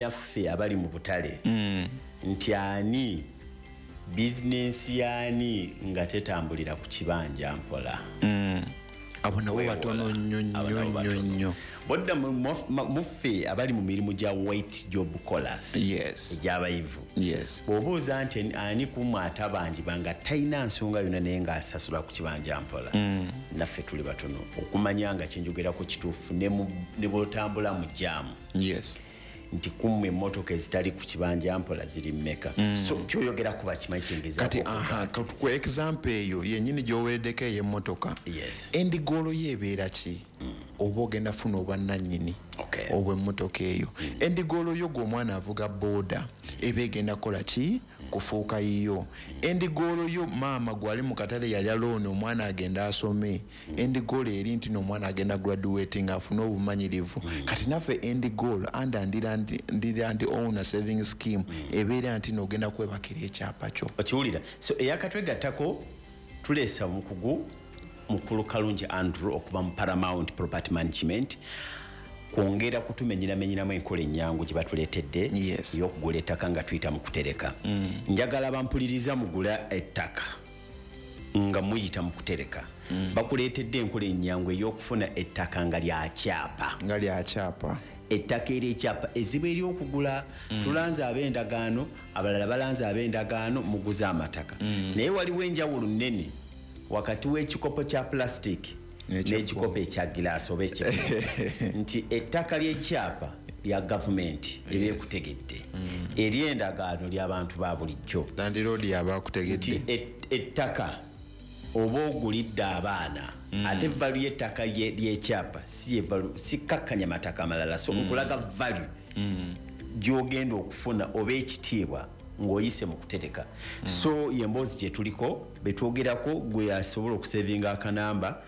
Naffe abali mu butale nti ani bizinensi yaani nga tetambulira ku kibanja mpola? Abo nabo batono nnyo nnyo nnyo nnyo. Bodda muffe abali mu mirimu gya white job collars egy'abayivu, bw'obuuza nti ani kumwe atabanjibwa nga talina nsonga yonna naye ng'asasula ku kibanja mpola, naffe tuli batono okumanya nga kyenjogerako kituufu ne bw'otambula mu jaamu nti kummwe emmotoka ezitali ku kibanja mpola ziri mmeka. So kyoyogera kuba kimanyi kyengezaako Kati okuga aha, ku example eyo yennyini gy'owereddeko ey'emmotoka, end goal yo ebeera ki? Oba ogenda funa obwannannyini obw'emmotoka eyo? End goal yo gwe omwana avuga booda eba egenda kukola ki? Kufuuka yiyo. End goal yo maama gwali mu katale yalya looni omwana agenda asome, end goal eri nti n'omwana agenda graduating afune obumanyirivu. Kati naffe end goal under Ndirande Owner Saving Scheme ebeera nti n'ogenda kwebakira ekyapa kyo. Okiwulira? So eyakatwegattako, tuleesa omukugu mukulu Kalungi Andrew okuva mu Paramount Property Management kwongera kutumenyeramenyeramu enkola ennyangu gye batuleetedde ey'okugula ettaka nga tuyita mu kutereka. Njagala bampuliriza mugula ettaka nga muyita mu kutereka. Bakuleetedde enkola ennyangu ey'okufuna ettaka nga lyakyapa. Nga lyakyapa. Ettaka ery'ekyapa ezibu ery'okugula. Tulanze ab'endagaano, abalala balanze ab'endagaano, muguze amataka. Naye waliwo enjawulo nnene wakati w'ekikopo kya plastic n'ekikopo ekya gilaasi oba eky'ebbumba, nti ettaka ly'ekyapa lya gavumenti ebyekutegedde, ery'endagaano ly'abantu ba bulijjo. Landlord yaba akutegedde. Nti ettaka oba ogulidde abaana, ate value y'ettaka ly'ekyapa si ye value, si kakkanya mataka amalala. So nkulaga value gy'ogenda okufuna oba ekitiibwa ng'oyise mu kutereka. So yemboozi gye tuliko betwogerako, gwe asobola okusevinga akanamba,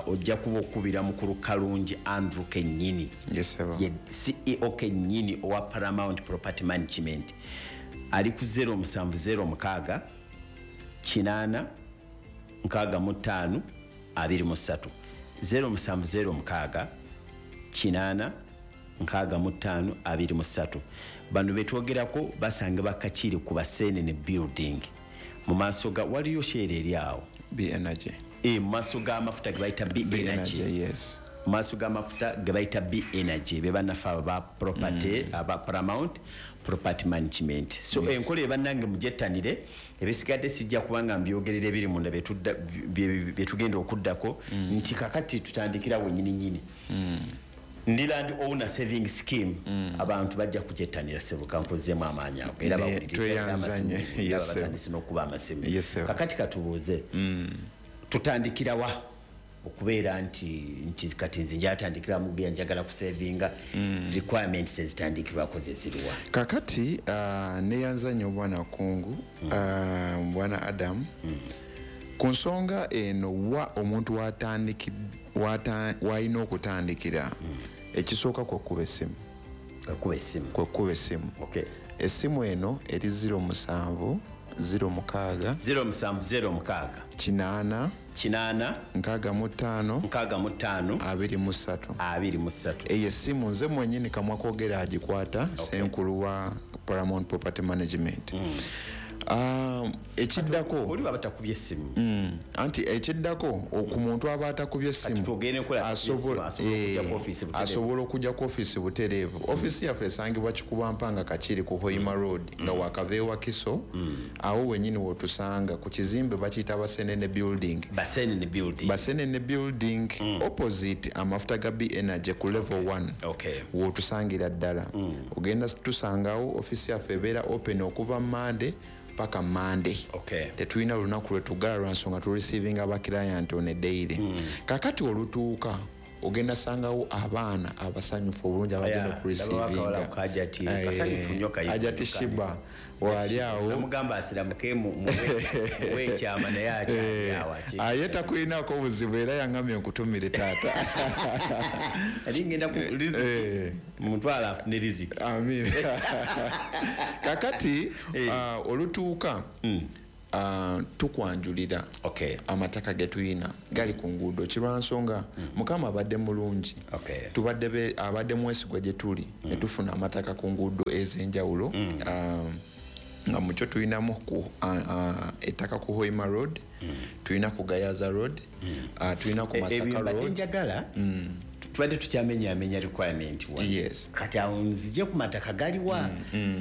ojja kuba okubira mukulu Kalungi Andrew kennyini. Yes, sir. Ye CEO kennyini owa Paramount Property Management, ali ku 0706 8 65 23, 0706 8 65 23. Bano betwogerako basanga bakakiri ku Basenene Building, mu maaso ga waliyo Shell eri awo. B Energy. Mu maaso g'amafuta ge bayita B B Energy. Energy, yes. Mu maaso g'amafuta ge bayita B Energy, be bannaffe abo ba property, aba Paramount Property Management. So enkola ebannange mugyettanire, ebisigadde sijja kubanga mbyogerera ebiri munda byetugenda okuddako. Nti kakati tutandikira wennyini nnyini. Ndirande Owner Saving Scheme, abantu bajja kugyettanira. Sebuka nkozeemu amaanyi ago era bawuliriza era Tweyanzanye. amasimu, Yes, sir. batandise n'okuba amasimu. Yes, sir. Kakati katubuuze, tutandikirawa okubeera nti kati nze njatandikira mugeya njagala kusevinga? Requirements ezitandikirwako zeziriwa? Kakati neyanzanye obwana kungu, bwana Adam, ku nsonga eno wa omuntu walina okutandikira, ekisooka kwekuba essimu. Kwekuba essimu. Kwekuba essimu. Essimu eno eri 07 06 0706. 8 8. 65. 65. 23. 23. Eyo essimu nze mwenyini kamwa kwogera agikwata, senkulu wa Paramount Property Management. Ekiddako Oli baba takubye essimu. Anti ekiddako ku muntu aba atakubye essimu, Kati twogere enkola atakubye essimu, asobola okujja ku ofiisi butereevu. Asobola okujja ku ofiisi butereevu. Ofiisi yaffe esangibwa Kikubampanga Kakiri ku Hoima Road, nga wakava e Wakiso, awo wennyini w'otusanga ku kizimbe bakiyita Basenene Building. Basenene Building. Basenene Building, opposite amafuta ga B Energy ku level 1. W'otusangira ddala. Ogenda tusangawo. Ofiisi yaffe ebeera open okuva Monday paka Monday. Tetulina lunaku lwe tugala lwa nsonga tu receiving aba client on a daily. Kakati olutuuka ogenda sangawo abaana abasanyufu obulungi abagenda Ndaba akawala ku Hajati, kasanyufu nnyo kayivu Hajati nnyo Shiba kali. wali awo. Namugamba asiramuke muwe ekyama naye akyali awo Ye takulinako obuzibu era yaŋŋambye nkutumire taata. Ali ngenda ku riziki. Mutwala afune riziki. Amin. Kakati, olutuuka, Tukwanjulira amataka ge tuyina gali ku nguudo kirwansonga. Mukama abadde mulungi, tubadde abadde mwesigwa gye tuli ne tufuna amataka ku nguudo ez'enjawulo. Nga mukyo tuyinamu ettaka ku Hoima Road, tuyina ku Gayaza Road, tuyina ku Masaka Road. Njagala tubadde tukyamenyamenya requirement wa. Kati awo nzije ku mataka galiwa,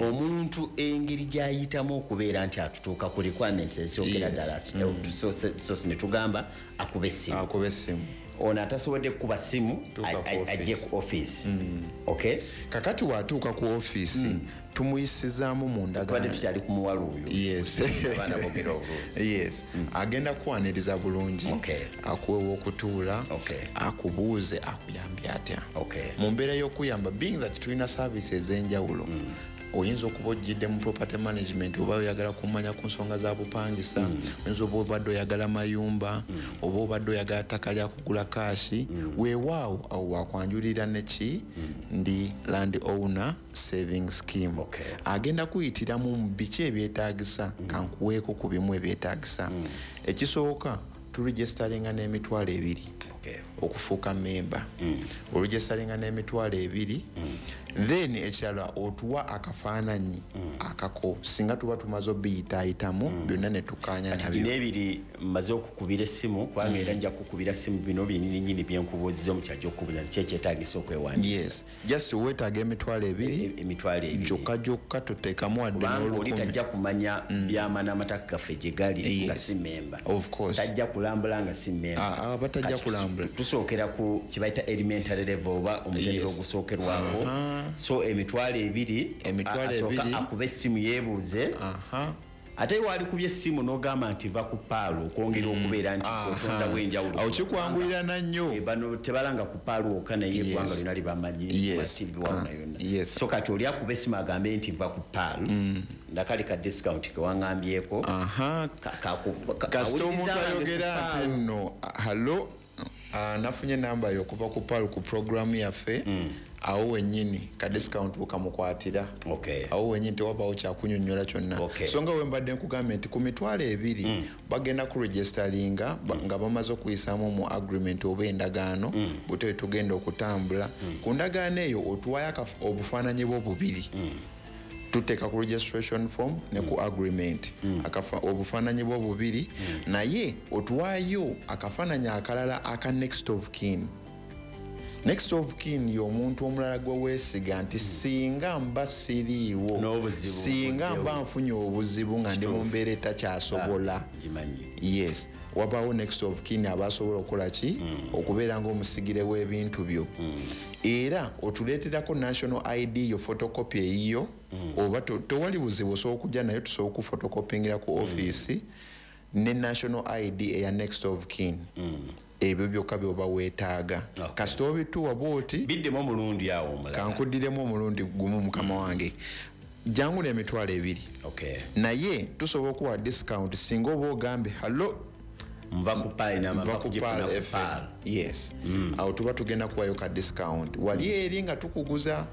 omuntu engeri gy'ayitamu okubeera nti atutuuka ku requirements ezisookera ddala, tusoose ne tugamba akube essimu. Akube essimu. Ono atasobodde kukuba ssimu ajje ku office. Okay? Kakati watuuka ku office, tumuyisizaamu mu ndagaano. Tubadde tukyali ku muwala oyo. Abaana boogera obulungi. Agenda kwaniriza bulungi. Akuwe okutuula, akubuuze akuyambye atya. Mu mbeera y'okuyamba, being that tulina services ez'enjawulo, oyinza okuba ojjidde mu property management, oba oyagala kumanya ku nsonga za bupangisa, oyinza oba obadde oyagala mayumba, oba obadde oyagala ttaka lya kugula kaasi, weewaawo awo wakwanjulira neki ndi land owner saving scheme. Agenda kuyitiramu mu biki ebyetaagisa, kankuweeko ku bimu ebyetaagisa. Ekisooka, turegisteringa n'20,000 okufuuka memba. Oregisteringa n'20,000, then ekirala otuwa akafaananyi akako singa tuba tumaze obiyitaayitamu byonna ne tukkaanya Kati nabyo. Bino ebiri mmaze okukubira essimu, kubanga era nja kukubira ssimu bino byennyini nnyini bye nkubuuzizza omukyajja okubuuza nti ki ekyetaagisa okwewandiisa. Yes, just weetaaga 20,000. 20,000. Gyokka gyokka toteekamu wadde Kubanga oli n'olukumi. tajja kumanya byama n'amataka gaffe gye gali nga si memba. Of course. Tajja kulambula nga si memba. Batajja Kati kulambula. tusookera ku kye bayita elementary level oba omutendera ogusookerwako. So 20,000, Emitwalo asooka ebiri. akube essimu yeebuuze. Ate waali kubye essimu n'ogamba nti va ku Paalo okwongera okubeera nti otondawo enjawulo. Awo kikwanguyirana nnyo. Bano tebalanga ku Paalo wokka, naye eggwanga lyonna libamanyi, ku TV wano yonna. So kati oli akuba essimu agambe nti va ku Paalo. Ndakali ka discount ke waŋŋambyeko. Kasita omuntu Awuliriza abange ku ayogera nti Paalo. nno, hallo, nafunye namba yo okuva ku Paalo ku programu yaffe. Awo wennyini ka discount bukamukwatira. Awo wennyini tewabaawo kyakunyonnyola kyonna. So nga we mbadde nkugambye nti ku 20,000 bagenda kuregisteringa nga bamaze okuyisaamu mu agreement oba endagaano, bwe tugenda okutambula. Ku ndagaano eyo otuwaayo obufaananyi bwo bubiri. Tuteeka ku registration form ne ku agreement. Obufaananyi bwo bubiri, naye otuwaayo akafaananyi akalala aka next of kin. Next of kin y'omuntu omulala gwe weesiga nti singa mba siriiwo, N'obuzibu singa obuddewo. mba nfunye obuzibu nga ndi mu mbeera etakyasobola. Ngimanyi. Yes, wabaawo next of kin abasobola okukola ki? Okubeera ng'omusigire w'ebintu byo. Era otuleeterako national ID yo, photocopy eyiyo, oba tewali buzibu osobola okujja nayo, tusobola okuphotocopyingira ku office ne national ID eya next of kin. Ebyo byokka by'oba weetaaga. Kasita obituwa bw'oti, Biddemu omulundi awo omulala. Kankuddiremu omulundi gumu mukama wange. Jangu n'20,000. Naye tusobola okuwa discount singa oba ogambe hallo, Nva ku Pearl na Nva nva ku kugifuna Pearl ku FM. Pearl. Yes. Awo tuba tugenda kuwayo ka discount. Wali eri nga tukuguza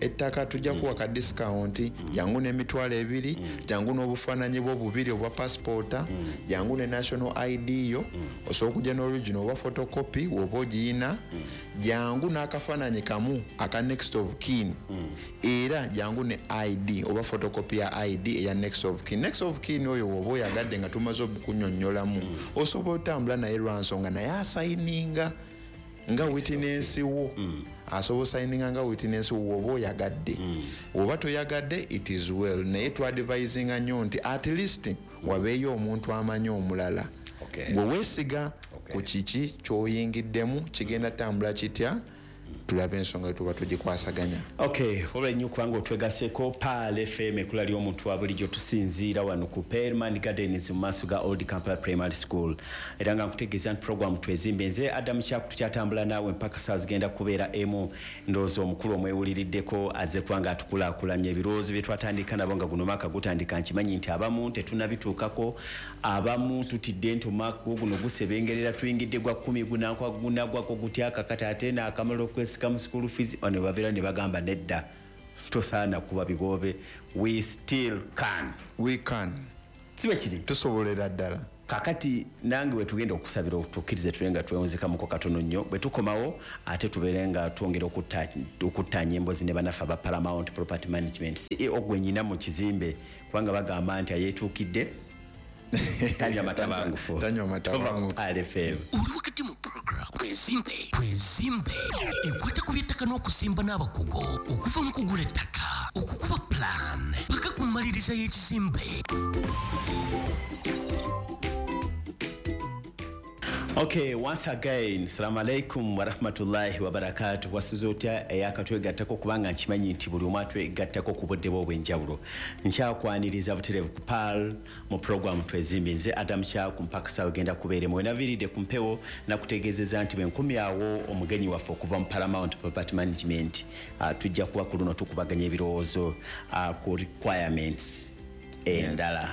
ettaka tujja kuwa ka discount. Jangu n'20,000, jangu n'obufaananyi bwo bubiri obwa passport, jangu ne national ID yo, osobola okujja n'original oba photocopy woba ogiyina, jangu n'akafaananyi kamu aka next of kin, era jangu ne ID oba photocopy ya ID eya next of kin. Next of kin oyo woba oyagadde nga tumaze okukunnyonnyolamu, osobola otambula naye lwa nsonga naye asayininga nga witness wo. Asobola osayininga nga witness wo woba oyagadde. Oba toyagadde, it is well. Naye twadvisinga nnyo nti at least wabeeyo omuntu amanyi omulala. Gwe weesiga ku kiki ky'oyingiddemu, kigenda tambula kitya, tulabe ensonga tuba tugikwasaganya. Okay, olwa nnyo kubanga otwegaseeko Pearl FM ekkula ly'omuntu wa bulijjo. Tusinziira wano ku Pearlman Gardens mu maaso ga Old Kampala Primary School, era nga nkutegeeza nti program twezimbe. Nze Adam Kyaku, tukyatambula naawe mpaka saa zigenda kubeera emu. Ndowooza omukulu omwewuliriddeko azze kubanga atukulaakulanya ebirowoozo bye twatandika nabo nga guno mwaka gutandika. Nkimanyi nti abamu tetunnabituukako, abamu tutidde nti omwaka guno gusebengerera, tuyingidde gwa 10 gunankwa gunagwako gutya kakati ate naakamala okwesika mu school fees. Bano babeera ne bagamba nedda, tosaana kuba bigobe. We still can. We can. Si bwe kiri? Tusobolera ddala. Kakati nange we tugenda okusabira tukkirize tule nga twewunzikamuko katono nnyo, bwe tukomawo ate tubeere nga twongera okuttaanya emboozi ne bannaffe aba Paramount Property Management. CEO gwe nnyina mu kizimbe, kubanga bagamba nti ayeetuukidde tanywa matabangufu. Tanywa matabangufu. Tova ku RFM. Oli wakati mu program Twezimbe, Twezimbe ekwata ku by'ettaka n'okusimba n'abakugu okuva mu kugula ettaka, okukuba plan paka ku mmaliriza y'ekizimbe. Okay, once again, assalamu alaikum wa rahmatullahi wa barakatuh. Wasuze otya eyakatwegattako, kubanga nkimanyi nti buli omu atwegattako ku budde bwe obw'enjawulo. Nkyakwaniriza butereevu ku PAL mu program Twezimbe. Nze Adam Kyaku mpaka ssaawa egenda kubeeremu. We naviiridde ku mpewo nakutegeezezza nti bwe nkomyawo omugenyi waffe okuva mu Paramount Property Management, tujja kuba ku luno tukubaganya ebirowoozo ku requirements endala.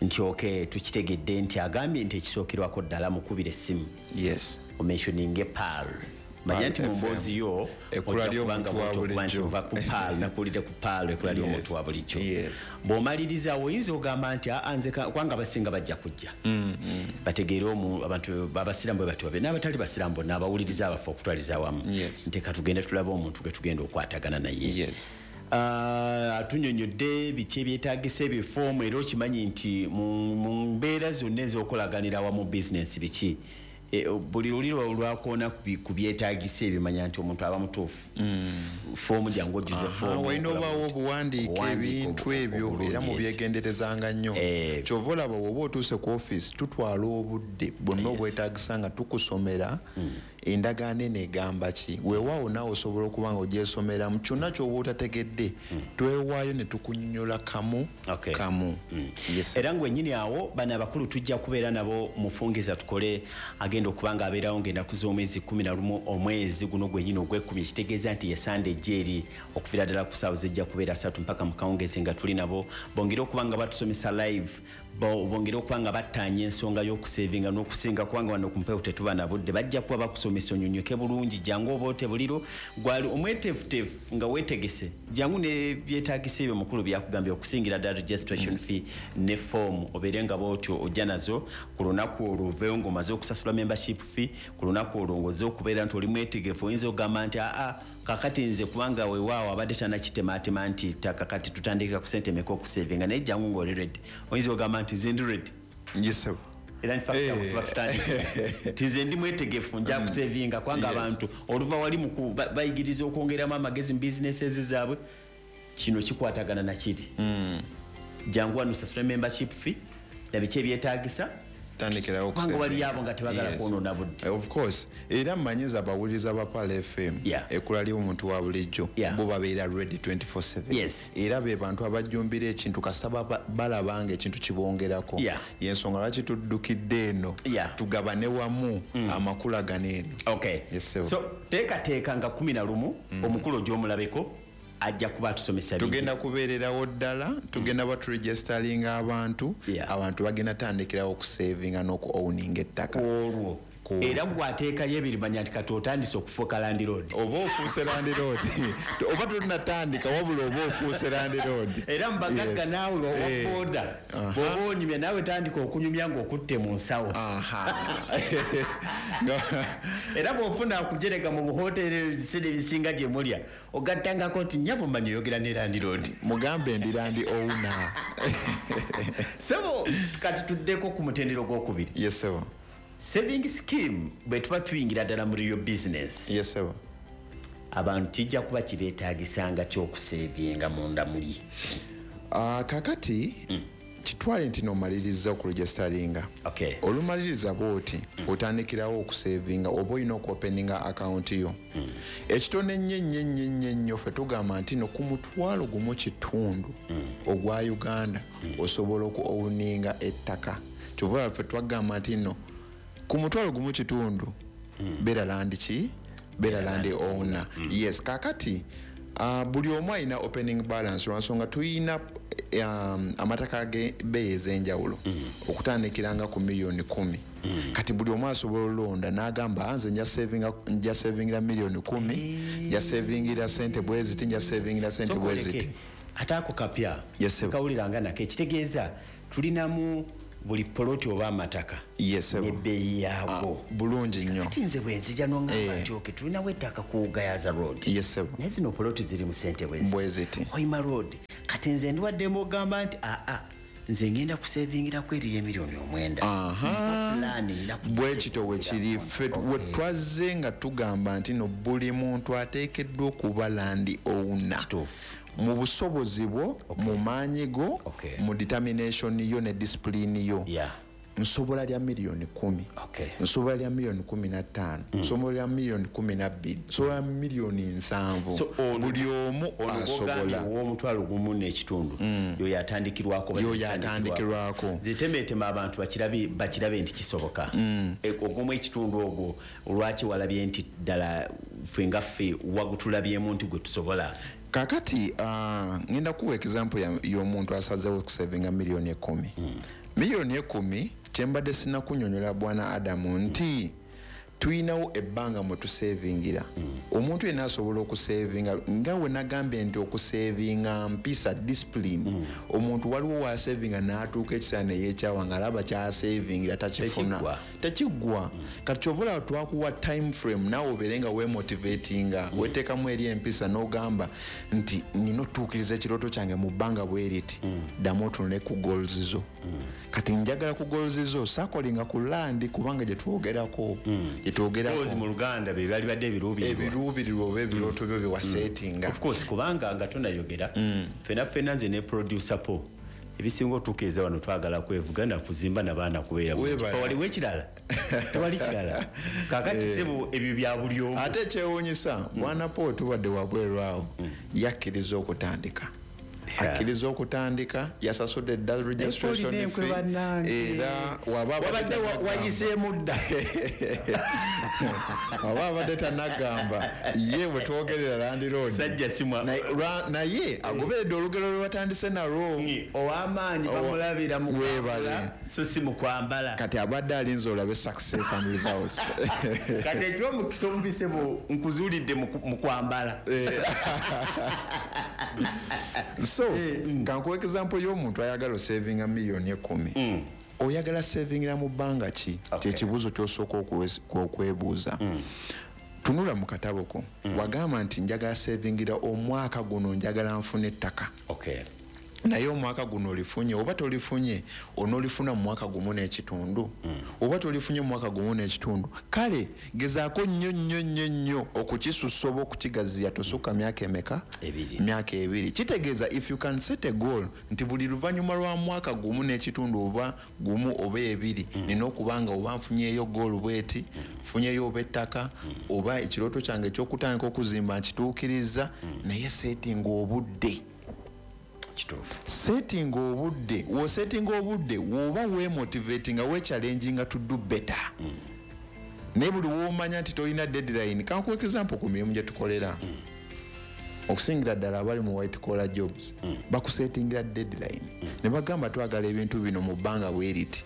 Nti okay, tukitegedde nti agambye nti ekisookerwako ddala mukubire essimu. Yes. Omentioninge PAL. Manya nti mu mboozi yo Ekkula ojja kubanga ly'omuntu wa bw'otuuka nti bulijjo. ova ku PAL, nakuwulidde ku PAL, ekkula ly'omuntu wa bulijjo. Bw'omaliriza oyinza ogamba nti, aa, nze kubanga abasinga bajja kujja. Bategeere abantu abasiraamu bwe batyo babe, n'abatali basiraamu bonna abawuliriza abaffe okutwaliza awamu. Nti ka tugende tulabe omuntu gwe tugenda okwatagana naye. Atunyonnyodde biki ebyetaagisa ebifoomu, era okimanyi nti mu mbeera zonna ez'okolaganira awamu bizinensi biki. Buli luli lwakoona ku byetaagisa ebimanya nti omuntu aba mutuufu. Foomu jangu ojjuze foomu, Walina okola obaawo bulungi. obuwandiike Obuwandiike ebintu ebyo, obulungi, era yes. mubyegenderezanga nnyo. Ky'ova olaba bw'oba otuuse ku ofiisi, tutwala obudde bwonna obwetaagisa nga tukusomera endagaano eno egamba ki. Weewaawo naawe osobola okuba nga ogyesomeramu kyonna ky'oba otategedde, twewaayo ne tukunnyonnyola kamu kamu. Yes. Era ng'wennyini awo bano abakulu tujja kubeera nabo mufungiza tukole agenda okuba nga abeerawo ng'ennaku z'omwezi 11 omwezi guno gwennyini ogw'ekkumi, ekitegeeza nti ye Sande ejja eri okuviira ddala ku ssaawa zijja kubeera 3 mpaka mu kawungeezi nga tuli nabo, bongere okuba nga batusomesa live, bongere okuba nga battaanya ensonga y'okusevinga n'okusinga, kubanga wano ku mpewo tetuba na budde. Bajja kuba bakusomesa onyonyoke bulungi, jangu oba ote buliro gwali omweteefuteefu nga weetegese, jangu ne byetaagisa ebyo mukulu byakugambye okusingira ddala registration fee ne form, obeere nga bw'otyo ojja nazo ku lunaku olwo oveewo ng'omaze okusasula membership fee. Ku lunaku olwo ng'ozze okubeera nti oli mwetegefu, oyinza okugamba nti aa kakati nze kubanga weewaawo abadde tannakitemaatema nti kakati tutandikira ku ssente emeka okusevinga, naye jangu ng'oli ready. Oyinza okugamba nti nze ndi ready. Yes, sir. Era in fact, awo tuba tutandika. Nti nze ndi mwetegefu, nja kusevinga, kubanga abantu oluva wali mu bayigiriza okwongeramu amagezi mu businesses zaabwe, kino kikwatagana na kiri. Jangu wano osasule membership fee na biki ebyetaagisa. Tandikirawo Kubanga okusevinga. wali abo nga tebagala kwonoona budde. Of course. Era mmanyiza abawuliriza ba PAL FM, ekkula ly'omuntu wa bulijjo, bo babeera ready 24/7. Era be bantu abajjumbira ekintu kasita balaba nga ekintu kibongerako. Y'ensonga lwaki tuddukidde eno, tugabane wamu amakula gano eno. Yes, sir. So, teekateeka nga 11, omukulu ogy'omulabeko ajja kuba atusomesa bingi. Tugenda kubeererawo ddala, tugenda baturegisteringa abantu, abantu bagenda tandikirawo okusavinga n'oku-owninga ettaka. Olwo. Ku- Era bw'ateekayo ebiri manya nti kati otandise okufuuka landlord. Oba ofuuse landlord. Oba tonnatandika, wabula oba ofuuse landlord. Era mu bagagga naawe owa boda, bw'oba onyumya naawe tandika okunyumya ng'okutte mu nsawo. Era bw'ofuna akujerega mu buhoteeri ebiseera ebisinga gye mulya, ogattangako nti nnyabo mmanyi oyogera ne landlord. Mugambe ndi land owner. Ssebo, kati tuddeko ku mutendera ogwokubiri. Yes, sir. Saving scheme bwe tuba tuyingira ddala mu real business. Yes, sir. Abantu kijja kuba kibeetaagisanga ky'okusevinga munda muli. Kakati, kitwale nti n'omaliriza okuregisteringa. Olumaliriza bw'oti, otandikirawo okusevinga oba olina okuopeninga account yo. Ekitono ennyo ennyo ennyo ennyo ennyo ffe tugamba nti no ku mutwalo gumu kitundu ogwa Uganda osobola oku-owninga ettaka. Kyova olaba ffe twagamba nti no ku mutwalo gumu kitundu beera land ki? Beera land owner. Yes, kakati, buli omu alina opening balance lwa nsonga tuyina amataka g'ebbeeyi ez'enjawulo okutandikiranga ku miliyoni 10. Kati buli omu asobola olonda n'agamba, nze nja savingira miliyoni 10, nja savingira sente bwe ziti, nja savingira sente Sooka bwe oleke. ziti. Ate ako kapya. Yes, sir. Kawuliranga nako ekitegeeza Tulinamu buli poloti oba amataka n'ebbeeyi yaago. Bulungi nnyo. Kati nze bwe nzija n'oŋŋamba nti okay, tulinawo ettaka ku Gayaza Road, naye zino poloti ziri mu ssente bwe ziti, Hoima Road. Kati nze ndiwaddemu ogamba nti aa, nze ngenda kusevingirako eriyo emiliyoni 9. Bwe kityo bwe kiri. Ffe we twazze nga tugamba nti no buli muntu ateekeddwa okuba land owner mu busobozi bwo, mu maanyi go, mu determination yo ne discipline yo. Nsobola lya miliyoni 10, nsobola lya miliyoni 15, nsobola lya miliyoni 12, nsobola lya miliyoni 70. Buli omu asobola. Ow'omutwalo gumu n'ekitundu yoyo atandikirwako. Yoyo atandikirwako. Zitemeetema abantu bakirabe nti kisoboka. Ogumu ekitundu ogwo, olwaki walabye nti ddala ffe nga ffe wagutulabyemu nti gwe tusobola? Kakati ngenda kuwa example y'omuntu asazeewo okusevinga miliyoni 10. Miliyoni 10, kyembadde sinakunyonyola, bwana Adamu, nti tuyinawo ebbanga mwe tusevingira. Omuntu yenna asobola okusevinga, nga we nagambye nti okusevinga mpisa, discipline. Omuntu waliwo wasevinga n'atuuka ekiseera neyeekyawa ng'alaba kyasevingira takifuna. Tekiggwa. Tekiggwa. Kati kyova olaba twakuwa time frame, naawe obeere nga wemotivatinga, weteekamu eri empisa n'ogamba nti nina otuukiriza ekirooto kyange mu bbanga bwe riti. Ddamu otunule ku goals zo. Kati njagala ku goals zo sakolinga ku land, kubanga gye twogerako gye twogerako Goals mu Luganda be bali badde ebiruubirirwa. Ebiruubirirwa oba ebirooto byo byewaseetinga. Of course, kubanga nga tonayogera, fena fena, nze ne producer po, ebisinga otuukiriza wano twagala kwevuga nakuzimba nabaana kubeera bulungi. Weebale. Waliwo ekirala? Tewali kirala. Kakati sebo, ebyo bya buli omu. Ate ekyewuunyisa, bwana Paul, tubadde wabweru awo, yakkiriza okutandika, akkiriza okutandika, yasasudde dda registration Enkwe fee. Bannange. Era waba abadde Wabadde tannagamba. wayiseemu dda. Waba abadde tannagamba, ye bwe twogerera landlord. Sajja simwa. Naye agoberedde olugero lwe batandise nalwo. Ow'amaanyi bamulabira mu Weebale. kwambala, so si mu kwambala. Kati abadde alinze olabe success and results. Kati ekyomukisa omubise bwo nkuzuulidde mu kwambala. So kankuwa example y'omuntu ayagala osavinga miliyoni 10. Oyagala savingira mu bbanga ki? Kyekibuuzo kyosooka okwebuuza. Tunula mu katabo ko, wagamba nti njagala savingira omwaka guno, njagala nfune ettaka. Naye omwaka guno olifunye oba tolifunye? Onoolifuna mu mwaka gumu n'ekitundu oba tolifunye mu mwaka gumu n'ekitundu? Kale gezaako nnyo nnyo nnyo nnyo okukisussa oba okukigaziya, tosukka myaka emeka? 2. Myaka 2. Kitegeeza if you can set a goal nti buli luvannyuma lwa mwaka gumu n'ekitundu oba gumu oba 2, nina okuba nga oba nfunyeeyo goal bweti, nfunyeeyo oba ettaka, oba ekirooto kyange ekyokutandika okuzimba nkituukiriza. Naye settinga obudde. Settinga obudde. Wosettinga obudde, woba wemotivatinga, wechallenginga to do better. Naye buli womanya nti tolina deadline, kankuwa example ku mirimu gye tukolera, okusingira ddala abali mu white collar jobs, bakusettingira deadline ne bagamba twagala ebintu bino mu bbanga bwe riti.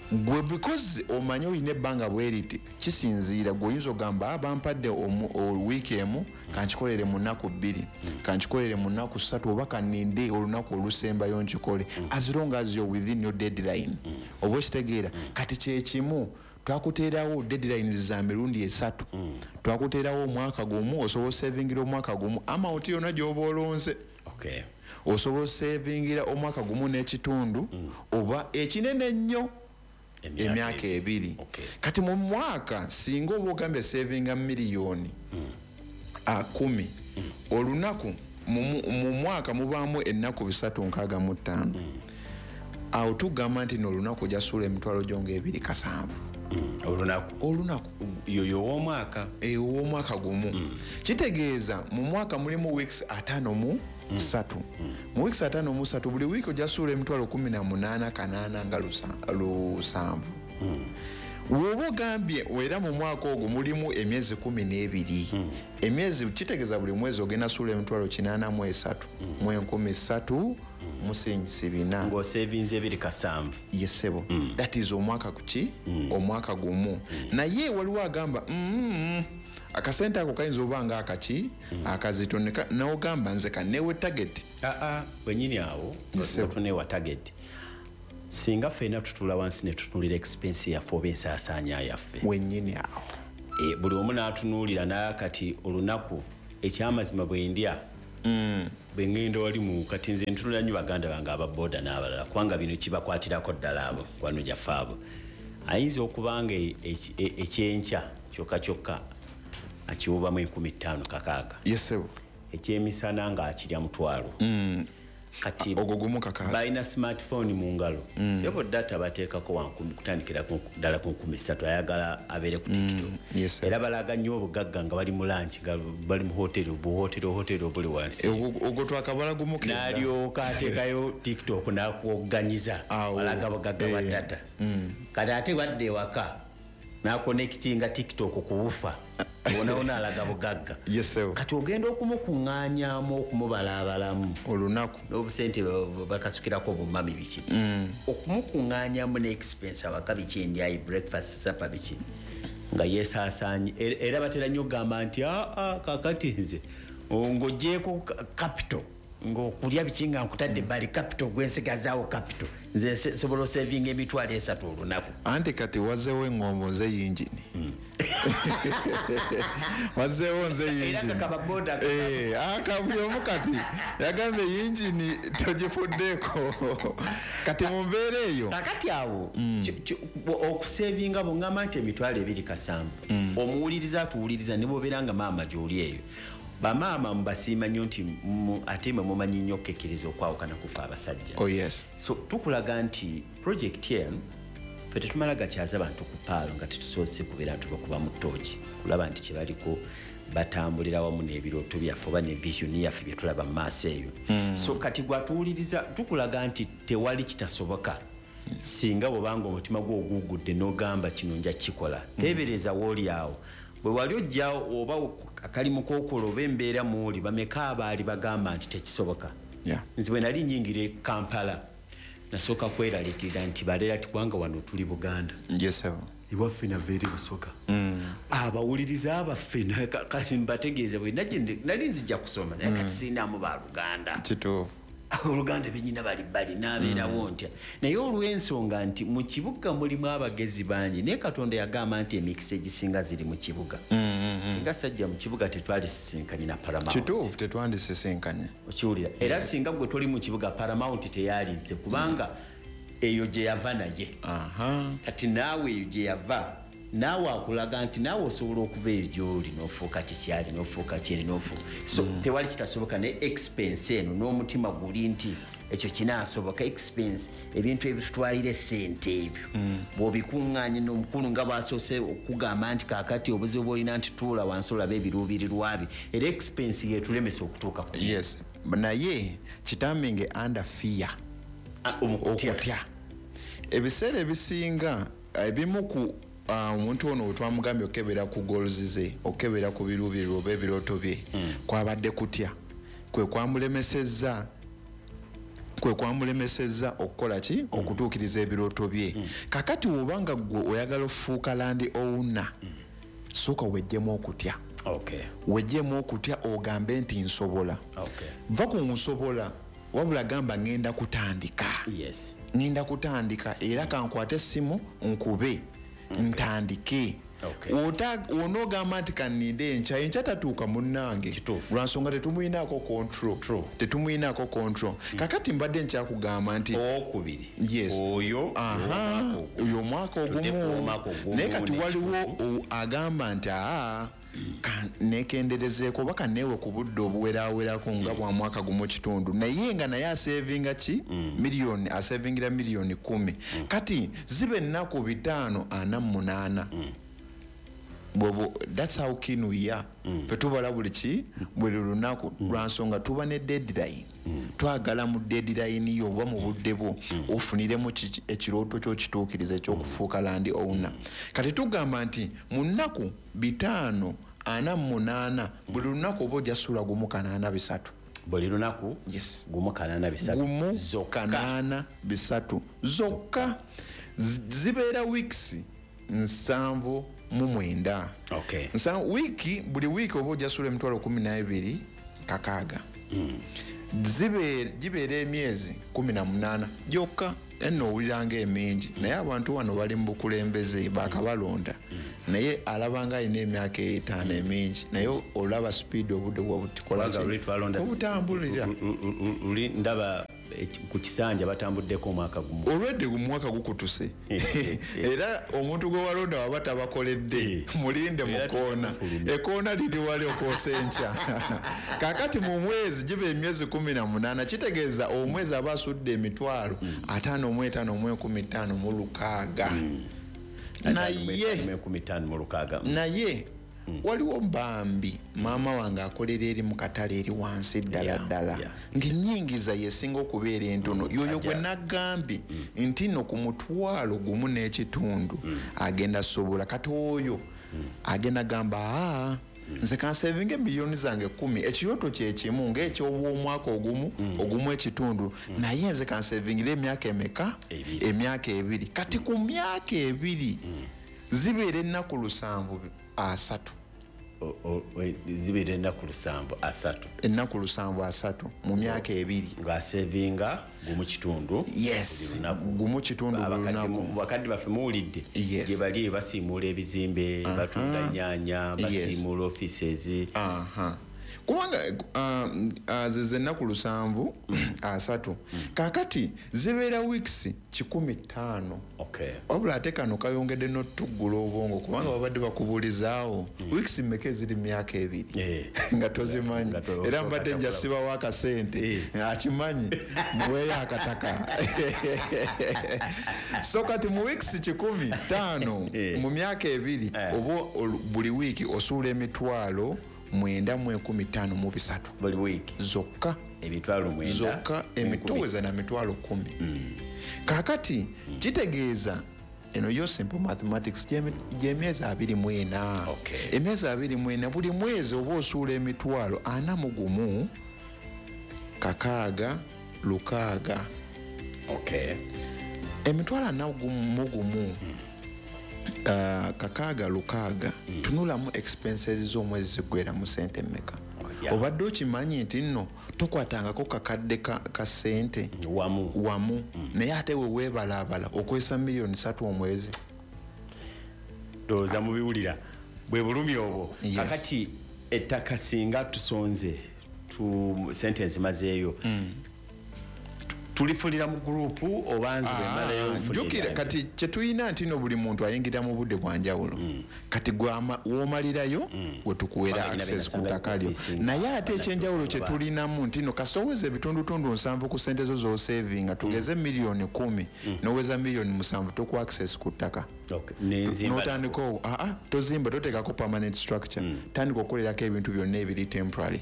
Gwe because omanyi olina ebbanga bwe riti, kisinziira gwe oyinza ogamba, "Ah, bampadde wiiki emu, kankikolere mu nnaku 2, kankikolere mu nnaku 3, oba kaninde olunaku olusembayo nkikole," as long as you're within your deadline. Oba okitegeera? Kati kyekimu, twakuteerawo deadlines za mirundi 3. Twakuteerawo omwaka gumu, osobola osavingira omwaka gumu amount yonna gy'oba olonze. Osobola osavingira omwaka gumu n'ekitundu, oba ekinene ennyo emyaka 2. Kati mu mwaka singa oba ogambye savinga miliyoni 10, olunaku mu mwaka mubaamu ennaku 365. Awo tugamba nti n'olunaku ojja suula emitwalo gyo nga ebiri kasanvu. Olunaku. Olunaku. Yoyo ow'omwaka. Ow'omwaka gumu. Kitegeeza mu mwaka mulimu weeks 53. Mu weeks 53, buli wiiki ojja suula emitwalo kumi na munaana kanaana nga lusanvu. Bw'oba ogambye era mu mwaka ogwo mulimu emyezi 12. Emyezi kitegeeza buli mwezi ogenda suula emitwalo kinaana mu esatu mu enkumi ssatu mu siringisi bina. Ng'osevinze ebiri kasanvu. Yes, ssebo. That is omwaka kuki? Omwaka gumu. Naye waliwo agamba, akasente ako kayinza oba nga akaki, akazito, n'ogamba nze kaneewe target. Aa, wenyini awo, Yes, sir. tuneewa target. Singa ffenna tutuula wansi ne tutunuulira expense yaffe oba ensaasaanya yaffe wennyini awo, buli omu n'atunuulira nakati olunaku ekyamazima bwe ndya, bwe ŋŋenda wali mu kati nze ntunula nnyo baganda bange ababoda n'abalala, kubanga bino kibakwatirako ddala abo kwano gyaffe abo. Ayinza okuba nga ekyenkya kyokka kyokka akiwubamu 5600. Yes, ekyemisana ng'akirya 500. Kati ogwo gumu kakaaga. Balina smartphone mu ngalo. Sebo data bateekako 1000 kutandikira ddala ku 3000, ayagala abeere ku TikTok. Era balaga nnyo obugagga nga bali mu lunch, nga bali mu hoteri, obuhoteri obuli wansi. Ogwo twakabala gumu kenda. N'alyoka ateekayo TikTok n'akwoganyiza. Balaga bugagga bwa data. Kati ate wadde ewaka n'akonectinga TikTok ku wufa. Onaona alaga bugagga. Yes, kati ogenda okumukuŋŋaanyaamu okumubalaabalamu olunaku n'obusente bakasukirako bumami biki, okumukuŋŋaanyamu ne expense awaka biki, endyayi, breakfast, supper biki, nga yeesaasaanye. Era batera nnyo okugamba nti aa kakati nze ng'oggyeeko capital, ng'okulya biki nga nkutadde ebbali, capital gwensigazaawo capital, nze nsobola osevinga 30,000 olunaku. Anti kati wazeewo eŋŋombo nze yingini. Wazeewo nze yingini. Era nga kababoda buli omu kati yagambye yingini togifuddeeko. Kati mu mbeera eyo. Kakati awo okusevinga bw'oŋŋamba nti 27,000, omuwuliriza atuwuliriza ne bw'obeera nga maama gy'oli eyo. Bamaama mubasiima nnyo nti ate mwe mumanyi nnyo okukekkereza okwawukana kufa abasajja. Oh yes. So tukulaga nti project eno ffe tetumala gakyaza bantu ku paalo nga tetusoose kubeera tubakuba mu ttooki kulaba nti kye baliko batambulira wamu n'ebirooto byaffe oba ne vision yaffe bye tulaba mu maaso eyo. So kati gwatuwuliriza tukulaga nti tewali kitasoboka. Singa bw'obanga omutima gwo ogugudde n'ogamba kino nja kukikola, teebereza w'oli awo. Bwe wali ojja oba akalimu k'okola oba embeera mw'oli, bameka abaali bagamba nti tekisoboka. Nze bwe nali nnyingira e Kampala nasooka kweraliikirira nti baleera ti kubanga wano tuli Buganda. Yes, sir. Iwaffe nava eri Busoga. Abawuliriza abaffe kati mbategeeze bwe nali nzija kusoma naye kati siinaamu baluganda. Kituufu. Oluganda bennyina bali bbali n'abeerawo ntya. Naye olw'ensonga nti mu kibuga mulimu abagezi bangi, naye Katonda yagamba nti emikisa egisinga ziri mu kibuga. Singa sajja mu kibuga tetwalisisinkanye na Paramount. Kituufu, tetwandisisinkanye. Okiwulira? Era singa gwe toli mu kibuga Paramount teyalizze kubanga eyo gye yava naye. Kati naawe eyo gye yava, naawe akulaga nti naawe osobola okuva eyo gy'oli n'ofuuka kikyali, n'ofuuka kyeri, n'ofuuka. So tewali kitasoboka, naye expense eno n'omutima guli nti ekyo kinaasoboka. Expense, ebintu ebitutwalira essente ebyo bw'obikuŋŋaanya n'omukulu nga bw'asoose okugamba nti kaakati obuzibu bw'olina nti tuula wansi olabe ebiruubirirwa bye, era expense yeetulemesa okutuuka ku. Yes, naye kitaminge under fear. Okutya. Ebiseera ebisinga ebimu ku omuntu ono twamugambye okebera ku goals ze, okebera ku biruubirirwa oba ebirooto bye, kwabadde kutya kwe kwamulemesezza okukola ki, okutuukiriza ebirooto bye. Kakati bw'obanga ggwe oyagala ofuuka land owner, sooka weggyemu okutya. Weggyemu okutya ogambe nti nsobola. Va ku nsobola, wabula gamba ngenda kutandika. Ngenda kutandika era kankwate essimu nkube. Ntandike. Onoogamba nti kanninde enkya, enkya tatuuka munnange. Lwansonga tetumuyinaako control. Tetumuyinaako control. Kakati mbadde nkyakugamba nti owokubiri. Yes. Oyo oyo omwaka ogumu. Naye kati waliwo agamba nti nekenderezeeko oba kanneewe ku budde obuweraawerako nga bwa mwaka gumu kitundu, naye nga naye asevinga ki miliyoni, asevingira miliyoni 10. Kati ziba ennaku 548. Bw'obo, that's how keen we are. Ffe tubala buli ki buli lunaku lwansonga tuba ne deadline. Twagala mu deadline yo oba mu budde bwo ofuniremu ekirooto kyo kituukirize eky'okufuuka land owner. Kati tugamba nti mu nnaku 548 buli lunaku oba ojja sula 1.83. Buli lunaku? Yes. 1.83. 1.83 zokka. Zibeera weeks 79. Wiki, buli wiiki oba ojja sula 12,600. Gibeera emyezi 18 gyokka. Eno owuliranga emingi, naye abantu wano bali mu bukulembeze bakabalonda, naye alabanga alina emyaka 5 emingi, naye olaba speed obudde bwabutikola obutambulira. Luli ndaba ku kisanja batambuddeko omwaka gumu, olwedde omwaka gukutuse. Era omuntu gwe walonda waba tabakoledde, mulinde mu koona, ekoona liri wali okwosa enkya. Kaakati mu mwezi giba emyezi 18, kitegeeza omwezi aba asudde emitwalo 55,556. Naye waliwo mbambi maama wange akolera eri mu katale eri wansi ddala ddala, ng'ennyingiza yesinga okubeera entono. Yoyo gwe nagambye nti nno ku 1.5 agenda sobola. Kati oyo agenda gamba, nze kansevinga miliyoni zange 10, ekirooto kyekimu ng'eky'obwomwaka ogumu 1.5, naye nze kansevingira emyaka emeka? Emyaka 2. Kati ku myaka 2 zibeera ennaku 70 30. Zibeera ennaku 73. Ennaku 73 mu myaka 2 ng'asevinga 1.5. Yes, 1.5 buli lunaku. Bakadde baffe muwulidde gye bali basiimuula ebizimbe, batunda nnyaanya, basiimuula offices. Kubanga ze ennaku 73. Kaakati zibeera weeks 105. Wabula ate kano kayongedde n'otuggula obwongo, kubanga babadde bakubuulizaawo weeks mmeka eziri mu myaka 2 nga tozimanyi. Era mbadde njasibawo akasente, akimanyi muweeyo akataka. So kati mu weeks 105 mu myaka 2, oba buli wiiki osuula emitwalo 915,300 buli wiiki zokka, emitwalo 9 zokka, emitoweza na mitwalo 10. Kaakati kitegeeza eno yo simple mathematics gy'emyezi 24. Emyezi 24 buli mwezi oba osuula emitwalo 41 6 6. Emitwalo 41 6 6, tunulamu expenses z'omwezi ziggwera mu sente mmeka? Obadde okimanyi nti nno tokwatangako kakadde ka sente wamu, naye ate we weebalaabala okozesa miliyoni 3 omwezi. Ndowooza mubiwulira bwe bulumi obwo. Kakati ettaka singa tusonze sente nzimazeeyo, tulifulira mu gurupu oba nze bwemmalayo nfulira? Jjukira kati kye tulina nti no buli muntu ayingira mu budde bwa njawulo. Kati gwe w'omalirayo we tukuweera access ku ttaka lyo. Naye ate ekyenjawulo kye tulinamu nti no kasita oweza ebitundutundu 7 ku ssente zo z'osevinga, tugeze miliyoni 10 n'oweza miliyoni 7 tokuwa access ku ttaka. N'otandika tozimba, toteekako permanent structure, tandika okukolerako ebintu byonna ebiri temporary.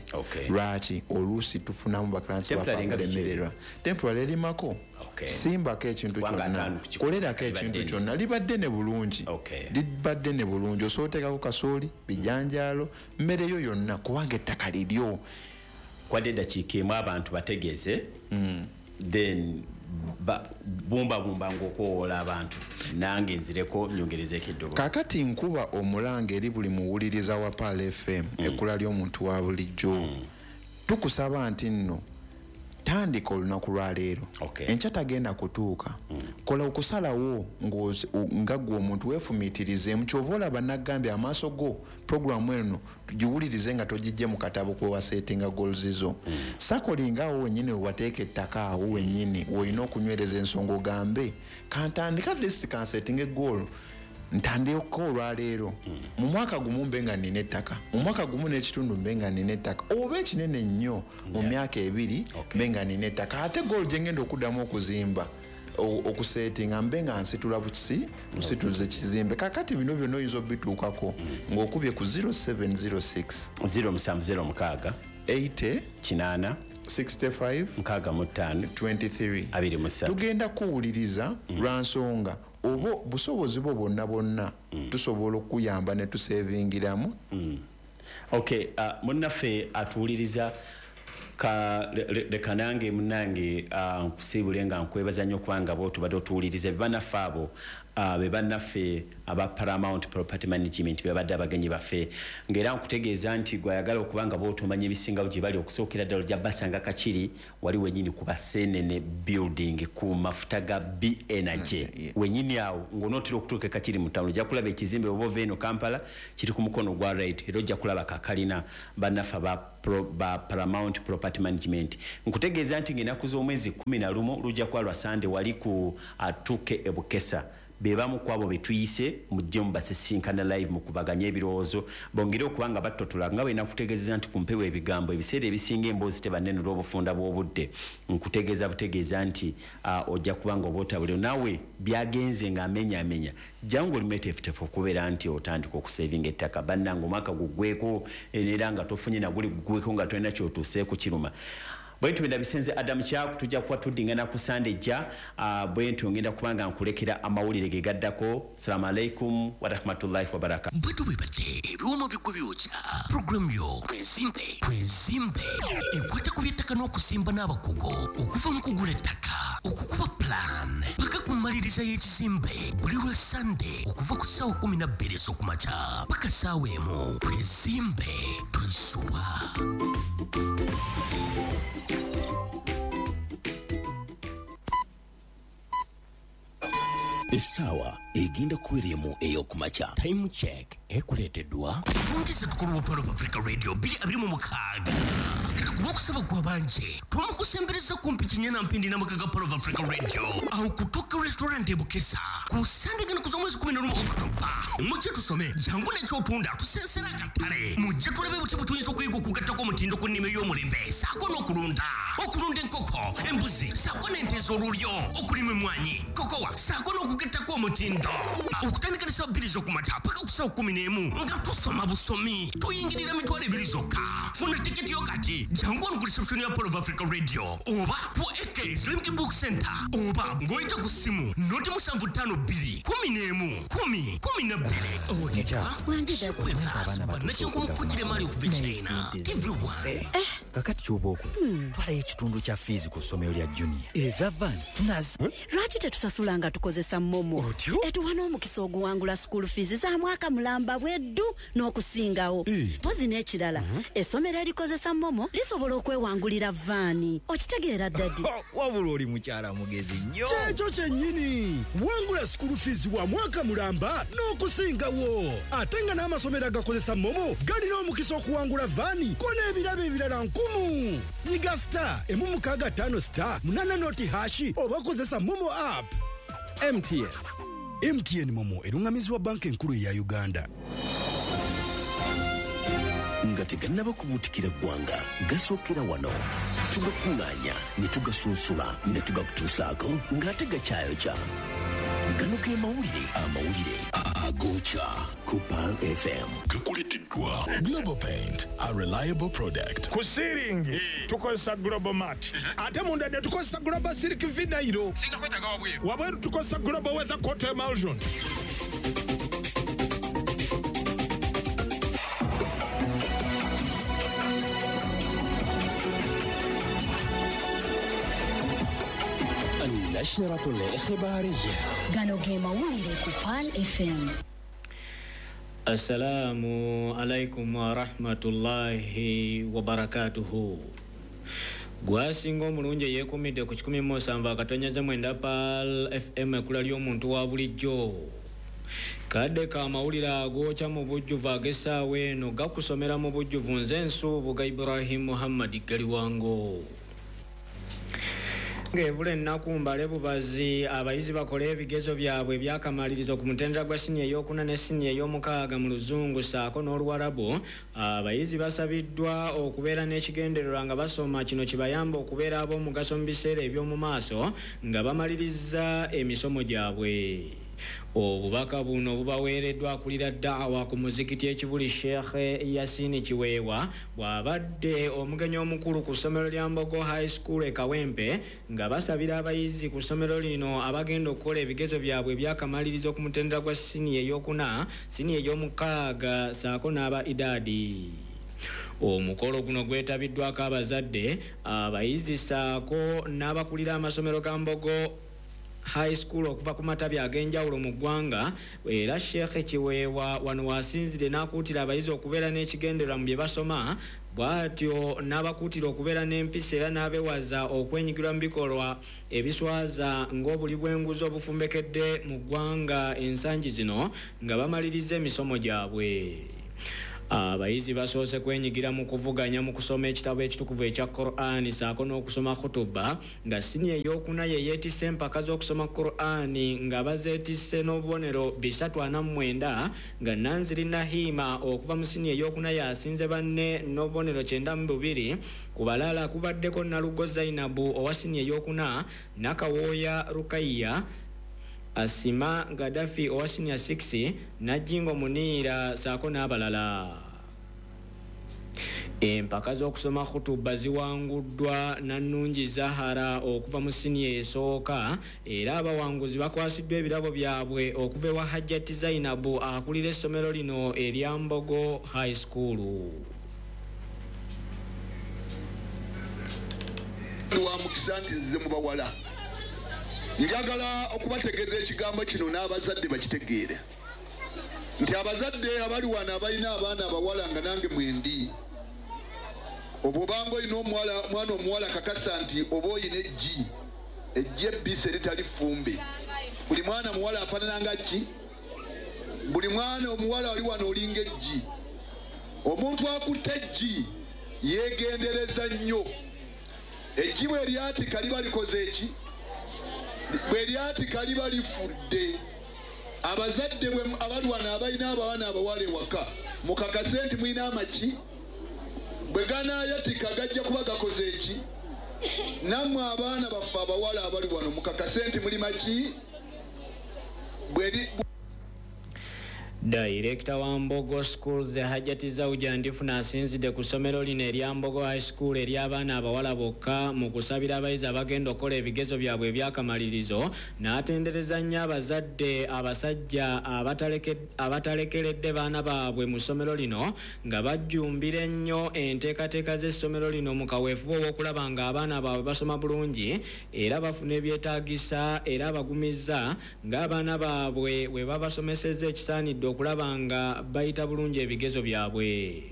Lwaki? Oluusi tufunamu baclients baffe abalemererwa. Temporary erimako, simbako ekintu kyonna, kolerako ekintu kyonna, libadde ne bulungi, libadde ne bulungi. Osobola oteekako kasooli, bijanjaalo, mmere yo yonna, kubanga ettaka liryo. Kwadde eddakiika emu abantu bategeeze, then bumbabumba ng'okwowoola abantu, nange nzireko nyongerezeeko eddoboozi. Kaakati nkuba omulanga eri buli muwuliriza wa Pearl FM, ekkula ly'omuntu wa bulijjo. Tukusaba nti nno tandika olunaku lwa leero. Enkya tagenda kutuuka. Kola okusalawo nga ggwe omuntu weefumiitirizeemu. Ky'ova olaba nagambye amaaso go puroguramu eno tugiwulirize nga togijje mu katabo kwe waseetinga goals zo. Sakolinga awo wennyini we wateeka ettaka, awo wennyini w'olina okunywereza ensonga ogambe kantandika at least kanseetinge goal, ntandika olwaleero. Mu mwaka gumu mbe nga nnina ettaka, mu mwaka 1.5 mbe nga nnina ettaka, oba ekinene nnyo mu myaka 2 mbe nga nnina ettaka. Ate goal gye ngenda okuddamu okuzimba okuseetinga mbe nga nsitula bukisi nsituze kizimbe. Kakati bino byonna oyinza obituukako ng'okubye ku 0706 0706 80 8 65 65 23 23. Tugenda kuwuliriza lwa nsonga oba busobozi bwo bwonna bwonna tusobola okuyamba ne tusevingiramu. Okay, munnaffe atuwuliriza, leka nange munnange nkusiibule nga nkwebaza nnyo kubanga bo tubadde otuwuliriza. Bannaffe abo Be bannaffe aba Paramount Property Management bebadde abagenyi baffe, ng'era nkutegeeza nti gwayagala okuba nga bw'otomanya ebisingawo gye bali, okusookera ddala ojja basanga Kakiri wali wennyini ku Basenene building ku mafuta ga B Energy wennyini awo. Ng'onootera okutuuka e Kakiri mu town, ojja kulaba ekizimbe oba ova eno Kampala, kiri ku mukono gwa right, era ojja kulaba kakalina bannaffe aba ba Paramount Property Management. Nkutegeeza nti ng'ennaku z'omwezi 11 lujja kuba lwa Sande wali ku atuke e Bukesa, be bamu ku abo be tuyise mujje mubasisinkana live mukubaganye ebirowoozo, bongere okuba nga battotola nga bwe nakutegeezeza nti ku mpewo ebigambo ebiseera ebisinga emboozi teba nnene olw'obufunda bw'obudde. Nkutegeeza butegeeza nti ojja kuba nga oba otabule naawe byagenze ng'amenyaamenya, jangu oli mweteefuteefu okubeera nti otandika okusevinga ettaka. Bannange, omwaka guggweko era nga tofunye naguli guggweko nga tolina kyotuuseeko, kiruma. Bwentyo bwe ndabisenze Adamu Kyaku, tujja kuba tuddingana ku Sande ejja. Bwentyo ngenda kuba nga nkulekera amawulire ge gaddako. Salaamu alaikum warahmatullahi wabarakatu. Bwetu bwebadde ebiwoma bigwe byokya puroguramu yo Twezimbe. Twezimbe ekwata ku by'ettaka n'okusimba n'abakugu, okuva mu kugula ettaka, okukuba plan paka ku mmaliriza y'ekizimbe, buli lwa Sande okuva ku ssaawa 12 ez'okumakya paka ssaawa 1. Twezimbe, togisubwa. Essaawa egenda kubeera emu ey'okumakya. Time check ekuleeteddwa Fungisa Tukulu wa Pearl of Africa Radio 2026. Kati ku lwokusaba gw'abanje twamukusembereza kumpi Kinyana Mpindi n'amaka ga Pearl of Africa Radio awo ku Tokyo Restaurant e Bukesa ku Sande gano ku z'omwezi 11 Okutoba. Mujje tusome, jangu n'ekyotunda tusensera akatale. Mujje tulabe butya bwe tuyinza okuyiga okugattako omutindo ku nnima ey'omulembe ssaako n'okulunda, okulunda enkoko, embuzi ssaako n'ente ez'olulyo, okulima emmwanyi, kokowa ssaako n'okugattako omutindo. Okutandika ne ssaawa 2 ez'okumakya paka ku ssaawa 11 nga tusoma busomi, tuyingirira 20,000 zokka. Funa tiketi yo kati, jangu wano ku reception ya Pearl of Africa Radio oba ku AK Islamic Book Center oba ng'oyita ku ssimu 075 2 11 10 12. Abaana Bannakyenkumukukira emaali okuva e China TV1. Kakati kyoba okola, twalayo ekitundu kya fees ku ssomero lya Junior, eza van nazi. Lwaki tetusasula nga tukozesa MoMo? Otyo? Etuwa n'omukisa oguwangula school fees za mwaka mulamba bweddu n'okusingawo. Mpozi n'ekirala, essomero erikozesa MoMo lisobola okwewangulira van. Okitegeera, daddy? Wabula oli mukyala mugezi nnyo. Kyekyo kyennyini, wangula school fees wa mwaka mulamba n'okusingawo, ate nga n'amasomero agakozesa MoMo galina omukisa okuwangula van ko n'ebirabo ebirala nkumu. Nyiga *165 *80# oba kozesa MoMo app. MTN. MTN MoMo eruŋŋamizibwa Banka Enkulu eya Uganda. Nga tegannaba kubuutikira ggwanga, gasookera wano, tugakuŋŋaanya ne tugasunsula ne tugakutuusaako ng'ate gakyayokya. Gano ge mawulire, amawulire agokya ku Pearl FM. Gakuleteddwa Global Paint, a reliable product. Ku ceiling tukozesa Global Mat, ate munda ne tukozesa Global Silk Vinyl. Wabweru tukozesa Global Weather Coat Emulsion. النشرة الإخبارية. Gano ge mawulire ku Pearl FM. Assalamu alaikum warahmatullahi wabarakatuhu. Gwasinga omulungi eyeekumidde ku 107.9 Pearl FM, ekkula ly'omuntu wa bulijjo. Kadde ka mawulire agokya mu bujjuvu ag'essaawa eno gakusomera mu bujjuvu nze Nsuubuga Ibrahim Muhammad Galiwango. Ng'ebula ennaku mbale bubazi abayizi bakole ebigezo byabwe ebyakamalirizo ku mutendera gwa siniya ey'okuna ne siniya ey'omukaaga mu Luzungu ssaako n'Oluwarabu, abayizi basabiddwa okubeera n'ekigendererwa nga basoma, kino kibayamba okubeera ab'omugaso mu biseera eby'omu maaso nga bamaliriza emisomo gyabwe. Obubaka buno bubaweereddwa akulira daawa ku muzikiti ekibuli Sheikh Yasini Kiweewa, bw'abadde omugenyi omukulu ku ssomero lya Mbogo High School e Kawempe, nga basabira abayizi ku ssomero lino abagenda okukola ebigezo byabwe ebyakamalirizo ku mutendera gwa siniya ey'okuna, siniya ey'omukaaga ssaako n'aba idaadi. Omukolo guno gwetabiddwako abazadde, abayizi ssaako n'abakulira amasomero ga Mbogo High School okuva ku matabi ag'enjawulo mu ggwanga. Era Sheikh Kiweewa wano wasinzidde n'akuutira abayizi okubeera n'ekigendererwa mu bye basoma, bw'atyo n'abakuutira okubeera n'empisa era n'abeewaza okwenyigirwa mu bikolwa ebiswaza ng'obuli bw'enguzi obufumbekedde mu ggwanga ensangi zino nga bamaliriza emisomo gyabwe. Abayizi basoose kwenyigira mu kuvuganya mu kusoma ekitabo ekitukuvu ekya Qur'ani ssaako n'okusoma khutuba, nga siniya ey'okuna ye yeetisse empaka z'okusoma Qur'ani nga bazeetisse n'obubonero 349, nga Nanziri Nahima okuva mu siniya ey'okuna yasinze banne n'obubonero 92. Ku balala kubaddeko Nalugo Zainabu owa siniya ey'okuna, Nakawooya Rukaiya, Asima Gaddafi owa siniya 6, Najjingo Muniira ssaako n'abalala. Empaka z'okusoma khutuba ziwanguddwa Nannungi Zahara okuva mu siniya esooka, era abawanguzi bakwasiddwa ebirabo byabwe okuva ewa Hajjati Zainabu akulira essomero lino erya Mbogo High School. Wa mukisa nti nzize mu bawala, njagala okubategeeza ekigambo kino n'abazadde bakitegeere nti abazadde abali wano abalina abaana abawala nga nange mwendi, oba obanga olina omwana omuwala kakasa nti oba oyina eggi, eggi ebbisi eritali ffumbe. Buli mwana muwala afaanana nga ki? Buli mwana omuwala oli wano olinga eggi. Omuntu akutte eggi yeegendereza nnyo. Eggi bwe lyatika liba likoze eki? Bwe lyatika liba lifudde. Abazadde abali wano abalina abaana abawala ewaka mukakase nti mulina amagi, bwe ganaayatika gajja kuba gakoze eki? Nammwe abaana baffe abawala abali wano mukakase nti muli magi. Director wa Mbogo Schools Hajjati Zauja Ndifuna asinzidde ku ssomero lino erya Mbogo High School ery'abaana abawala bokka mu kusabira abayizi abagenda okukola ebigezo byabwe ebyakamalirizo, n'atendereza nnyo abazadde abasajja abatalekeredde baana baabwe mu ssomero lino nga bajjumbira ennyo enteekateeka z'essomero lino mu kaweefube ow'okulaba ng'abaana baabwe basoma bulungi era bafuna ebyetaagisa, era abagumizza ng'abaana baabwe bwe babasomesezza ekisaanidde okulaba nga bayita bulungi ebigezo byabwe.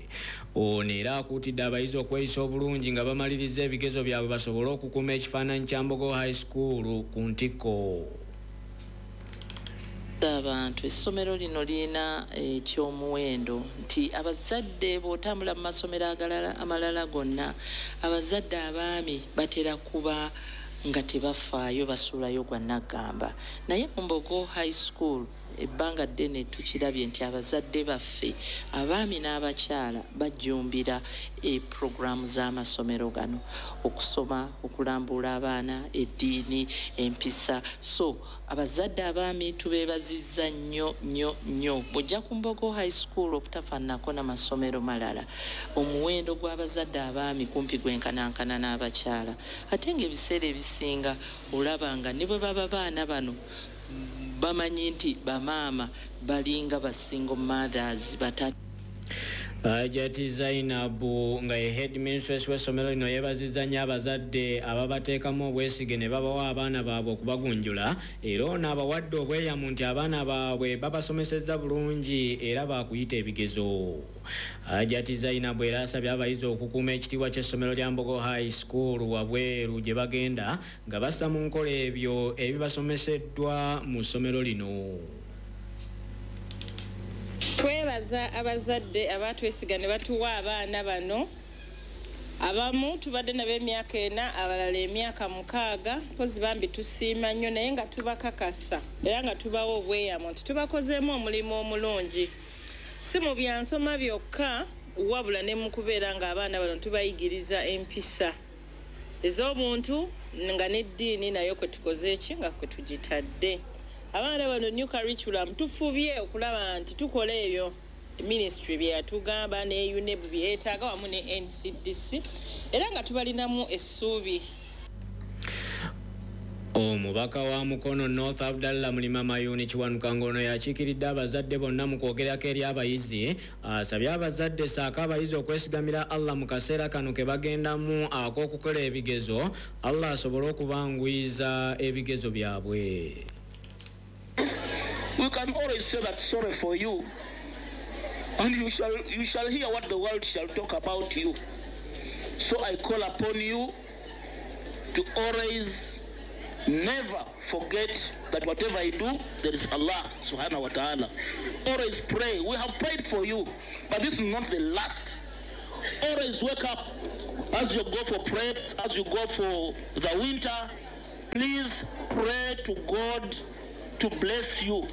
Ono era akuutidde abayizi okweyisa obulungi nga bamaliriza ebigezo byabwe basobole okukuuma ekifaananyi kya Mbogo High School ku ntikko. Abantu essomero lino lirina ekyomuwendo nti abazadde bw'otambula mu masomero amalala gonna, abazadde abaami batera kuba nga tebafaayo, basulayo gwa naggamba. Naye mu Mbogo High School ebbanga ddene tukirabye nti abazadde baffe abaami n'abakyala bajjumbira puroguraamu z'amasomero gano, okusoma, okulambuula abaana, eddiini, empisa. So abazadde abaami tubeebazizza nnyo nnyo nnyo. Bw'ojja ku Mbogo High School obutafaananako n'amasomero malala, omuwendo gw'abazadde abaami kumpi gwenkanankana n'abakyala, ate ng'ebiseera ebisinga olaba nga ne bwe baba baana bano bamanyi nti bamaama balinga ba single mothers batatu. Hajjati Zainabu nga ye headmistress w'essomero lino yeebazizza nnyo abazadde ababateekamu obwesige ne babawa abaana baabwe okubagunjula, era ono abawadde obweyamu nti abaana baabwe babasomesezza bulungi era baakuyita ebigezo. Hajjati Zainabu era asabye abayizi okukuuma ekitiibwa ky'essomero lya Mbogo High School wabweru gye bagenda nga bassa mu nkola ebyo ebibasomeseddwa mu ssomero lino. Twebaza abazadde abatwesiga ne batuwa abaana bano. Abamu tubadde nabo emyaka 4, abalala emyaka 6, mpozi bambi tusiima nnyo, naye nga tubakakasa era nga tubawa obweyamo nti tubakozeemu omulimu omulungi, si mu byansoma byokka wabula ne mu kubeera ng'abaana bano tubayigiriza empisa ez'obuntu nga n'eddiini nayo kwe tukoze eki nga kwe tugitadde. Abaana bano new curriculum tufubye okulaba nti tukola ebyo ministry bye yatugamba ne UNEB bye yeetaaga wamu ne NCDC, era nga tubalinamu essuubi. Omubaka wa Mukono North Abdallah Mulima Mayuni Kiwanuka ngono yakiikiridde abazadde bonna mu kwogerako eri abayizi, asabye abazadde ssaako abayizi okwesigamira Allah mu kaseera kano ke bagendamu ak'okukola ebigezo, Allah asobole okubanguyiza ebigezo byabwe. We can always say that sorry for you, and you shall hear what the world shall talk about you. So I call upon you to always never forget that whatever I do, there is Allah subhanahu wa ta'ala. Always pray. We have prayed for you, but this is not the last. Always wake up as you go for prep, as you go for the winter. Please pray to God to bless you.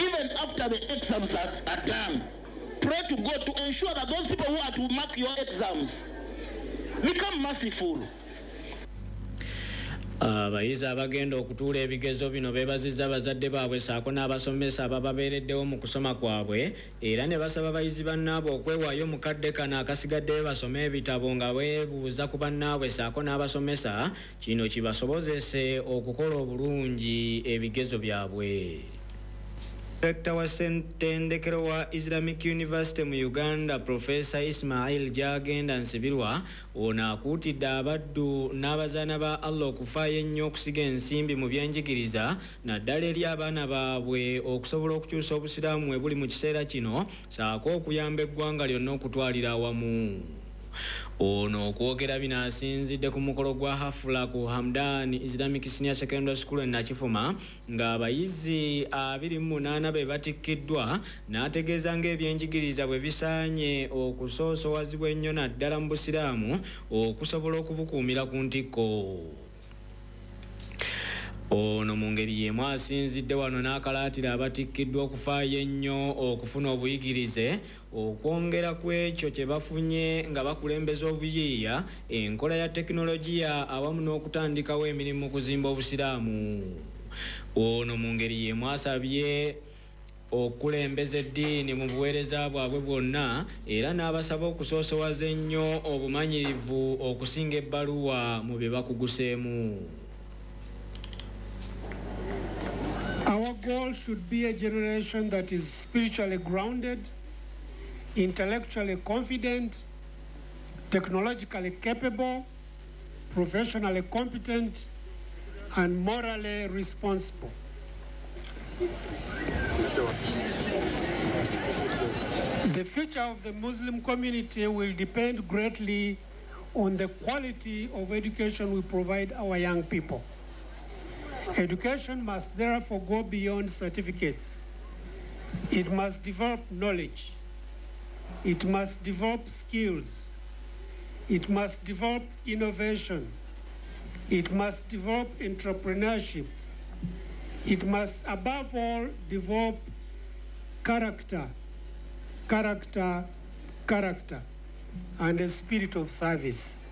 Even after the exams are done, pray to God to ensure that those people who are to mark your exams become merciful. Abayizi abagenda okutuula ebigezo bino beebazizza abazadde baabwe ssaako n'abasomesa abababeereddewo mu kusoma kwabwe, era ne basaba abayizi bannaabwe okwewaayo mu kadde kano akasigaddeyo basome ebitabo nga beebuuza ku bannaabwe ssaako n'abasomesa, kino kibasobozese okukola obulungi ebigezo byabwe. Rekta wa Ssettendekero wa Islamic University mu Uganda, Professor Ismail Gyagenda Nsibirwa, ono akuutidde abaddu n'abazaana ba Allah okufaayo ennyo okusiga ensimbi mu byenjigiriza naddala eri abaana baabwe okusobola okukyusa obusiraamu bwe buli mu kiseera kino ssaako okuyamba eggwanga lyonna okutwalira awamu. Ono okwogera bino asinzidde ku mukolo gwa hafula ku Hamdan Islamic Senior Secondary School e Nakifuma ng'abayizi 28 be batikkiddwa, n'ategeeza ng'ebyenjigiriza bwe bisaanye okusoosowazibwa ennyo naddala mu busiraamu okusobola okubukuumira ku ntikko. Ono mu ngeri y'emu asinzidde wano n'akalaatira abatikkiddwa okufaayo ennyo okufuna obuyigirize okwongera ku ekyo kye bafunye nga bakulembeza obuyiiya, enkola ya tekinologiya awamu n'okutandikawo emirimu mu kuzimba obusiraamu. Ono mu ngeri y'emu asabye okulembeza eddiini mu buweereza bwabwe bwonna era n'abasaba okusoosowaza ennyo obumanyirivu okusinga ebbaluwa mu bye bakuguseemu. Our goal should be a generation that is spiritually grounded, intellectually confident, technologically capable, professionally competent, and morally responsible. The future of the Muslim community will depend greatly on the quality of education we provide our young people. Education must therefore go beyond certificates. It must develop knowledge. It must develop skills. It must develop innovation. It must develop entrepreneurship. It must, above all, develop character, character, character, and a spirit of service.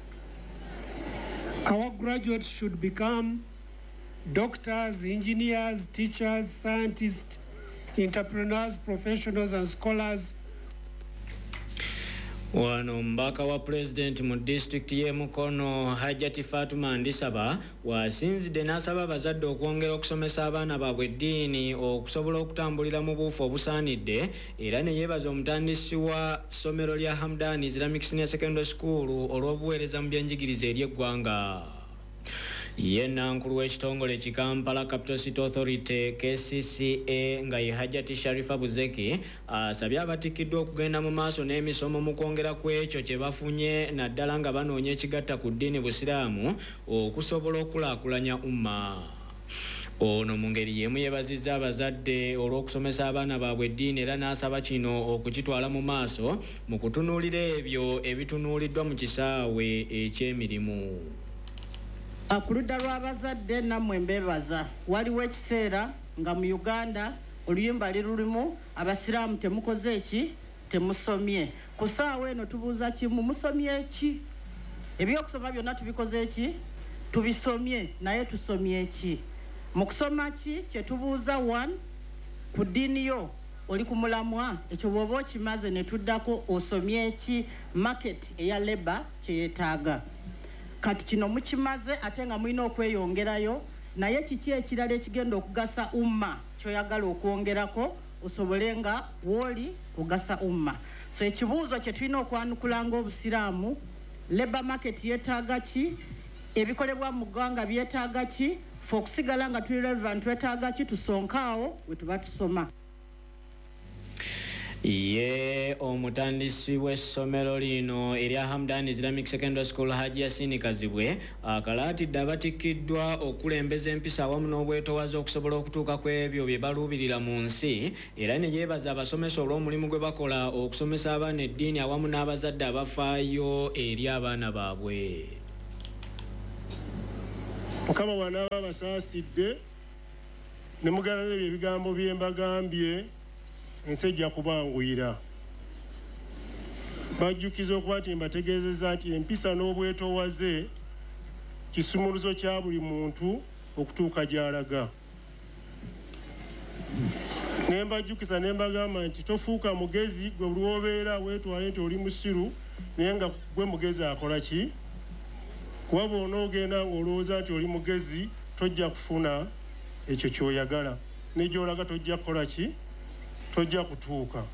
Our graduates should become doctors, engineers, teachers, scientists, entrepreneurs, professionals, and scholars. Wano mbaka wa president mu disitulikiti y'e Mukono Hajjati Fatuma Ndisaba wasinzidde n'asaba abazadde okwongera okusomesa abaana baabwe eddiini okusobola okutambulira mu buufu obusaanidde, era ne yeebaza omutandisi wa ssomero lya Hamdan Islamic Senior Secondary School olw'obuweereza mu byenjigiriza eri eggwanga. Ye nankulu w'ekitongole ki Kampala Capital City Authority KCCA nga ye Hajjati Sharifa Buzeki asabye abatikkiddwa okugenda mu maaso n'emisomo mu kwongera ku ekyo kye bafunye naddala nga banoonya ekigatta ku ddiini busiraamu okusobola okulaakulanya umma. Ono mu ngeri y'emu yeebazizza abazadde olw'okusomesa abaana baabwe eddiini era n'asaba kino okukitwala mu maaso mu kutunuulira ebyo ebitunuuliddwa mu kisaawe eky'emirimu. Ku ludda lw'abazadde nammwe mbeebaza, waliwo ekiseera nga mu Uganda oluyimba lirulimu abasiraamu temukoze eki, temusomye. Ku ssaawa eno tubuuza kimu, musomye ki? Ebyokusoma byonna tubikoze eki? Tubisomye, naye tusomye ki? Mu kusoma ki kye tubuuza one, ku ddiini yo oli ku mulamwa, ekyo bw'oba okimaze ne tuddako osomye ki market eya labour kye yeetaaga. Kati kino mukimaze ate nga mulina okweyongerayo Naye kiki ekirala ekigenda okugasa umma kyoyagala okwongerako osobole nga wooli kugasa umma? So ekibuuzo kye tulina okwanukula ng'obusiraamu, labour market yeetaaga ki? Ebikolebwa mu ggwanga byetaaga ki? Fe okusigala nga tuli relevant twetaaga ki? Tusonkaawo we tuba tusoma. Ye omutandisi w'essomero lino erya Hamdan Islamic Secondary School, Haji Yasini Kazibwe, akalaatidde abatikkiddwa okulembeza empisa awamu n'obwetowaze okusobola okutuuka ku ebyo bye baluubirira mu nsi, era ne yeebaza abasomesa olw'omulimu gwe bakola okusomesa abaana eddiini awamu n'abazadde abafaayo eri abaana baabwe. Mukama bw'anaaba abasaasidde ne mugala n'ebyo ebigambo bye mbagambye, ensi ejja kubanguyira. Bajjukiza okuba nti mbategeezezza nti empisa n'obwetoowaze kisumuluzo kya buli muntu okutuuka gy'alaga. Ne mbajjukiza ne mbagamba nti tofuuka mugezi gwe buli w'obeera weetwale nti oli musiru, naye nga gwe mugezi akola ki? Kuba bw'onoogenda ng'olowooza nti oli mugezi, tojja kufuna ekyo ky'oyagala, ne gy'olaga tojja kukola ki? Tojja kutuuka.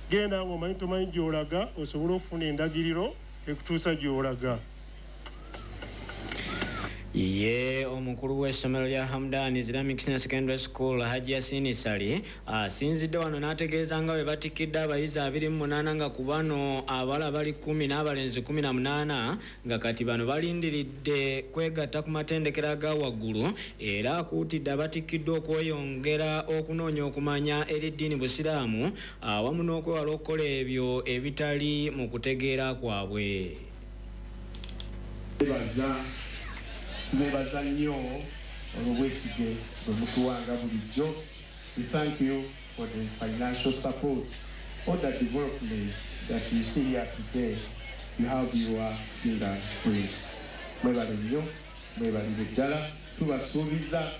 Genda ng'omanyi tomanyi gy'olaga osobole okufuna endagiriro ekutuusa gy'olaga. Ye omukulu w'essomero lya Hamdan Islamic Senior Secondary School, Haji Yasini Sali, asinzidde wano n'ategeeza nga bwe batikkidde abayizi 28, nga ku bano abawala bali 10 n'abalenzi 18, nga kati bano balindiridde kwegatta ku matendekero aga waggulu, era akuutidde abatikkiddwa okweyongera okunoonya okumanya eri ddiini busiraamu awamu n'okwewala okukola ebyo ebitali mu kutegeera kwabwe. Tubeebaza nnyo olw'obwesige bwe mutuwanga bulijjo. We thank you for the financial support or the development that you see here today. You have your fingerprints. Mwebale nnyo, mwebalire ddala. Tubasuubiza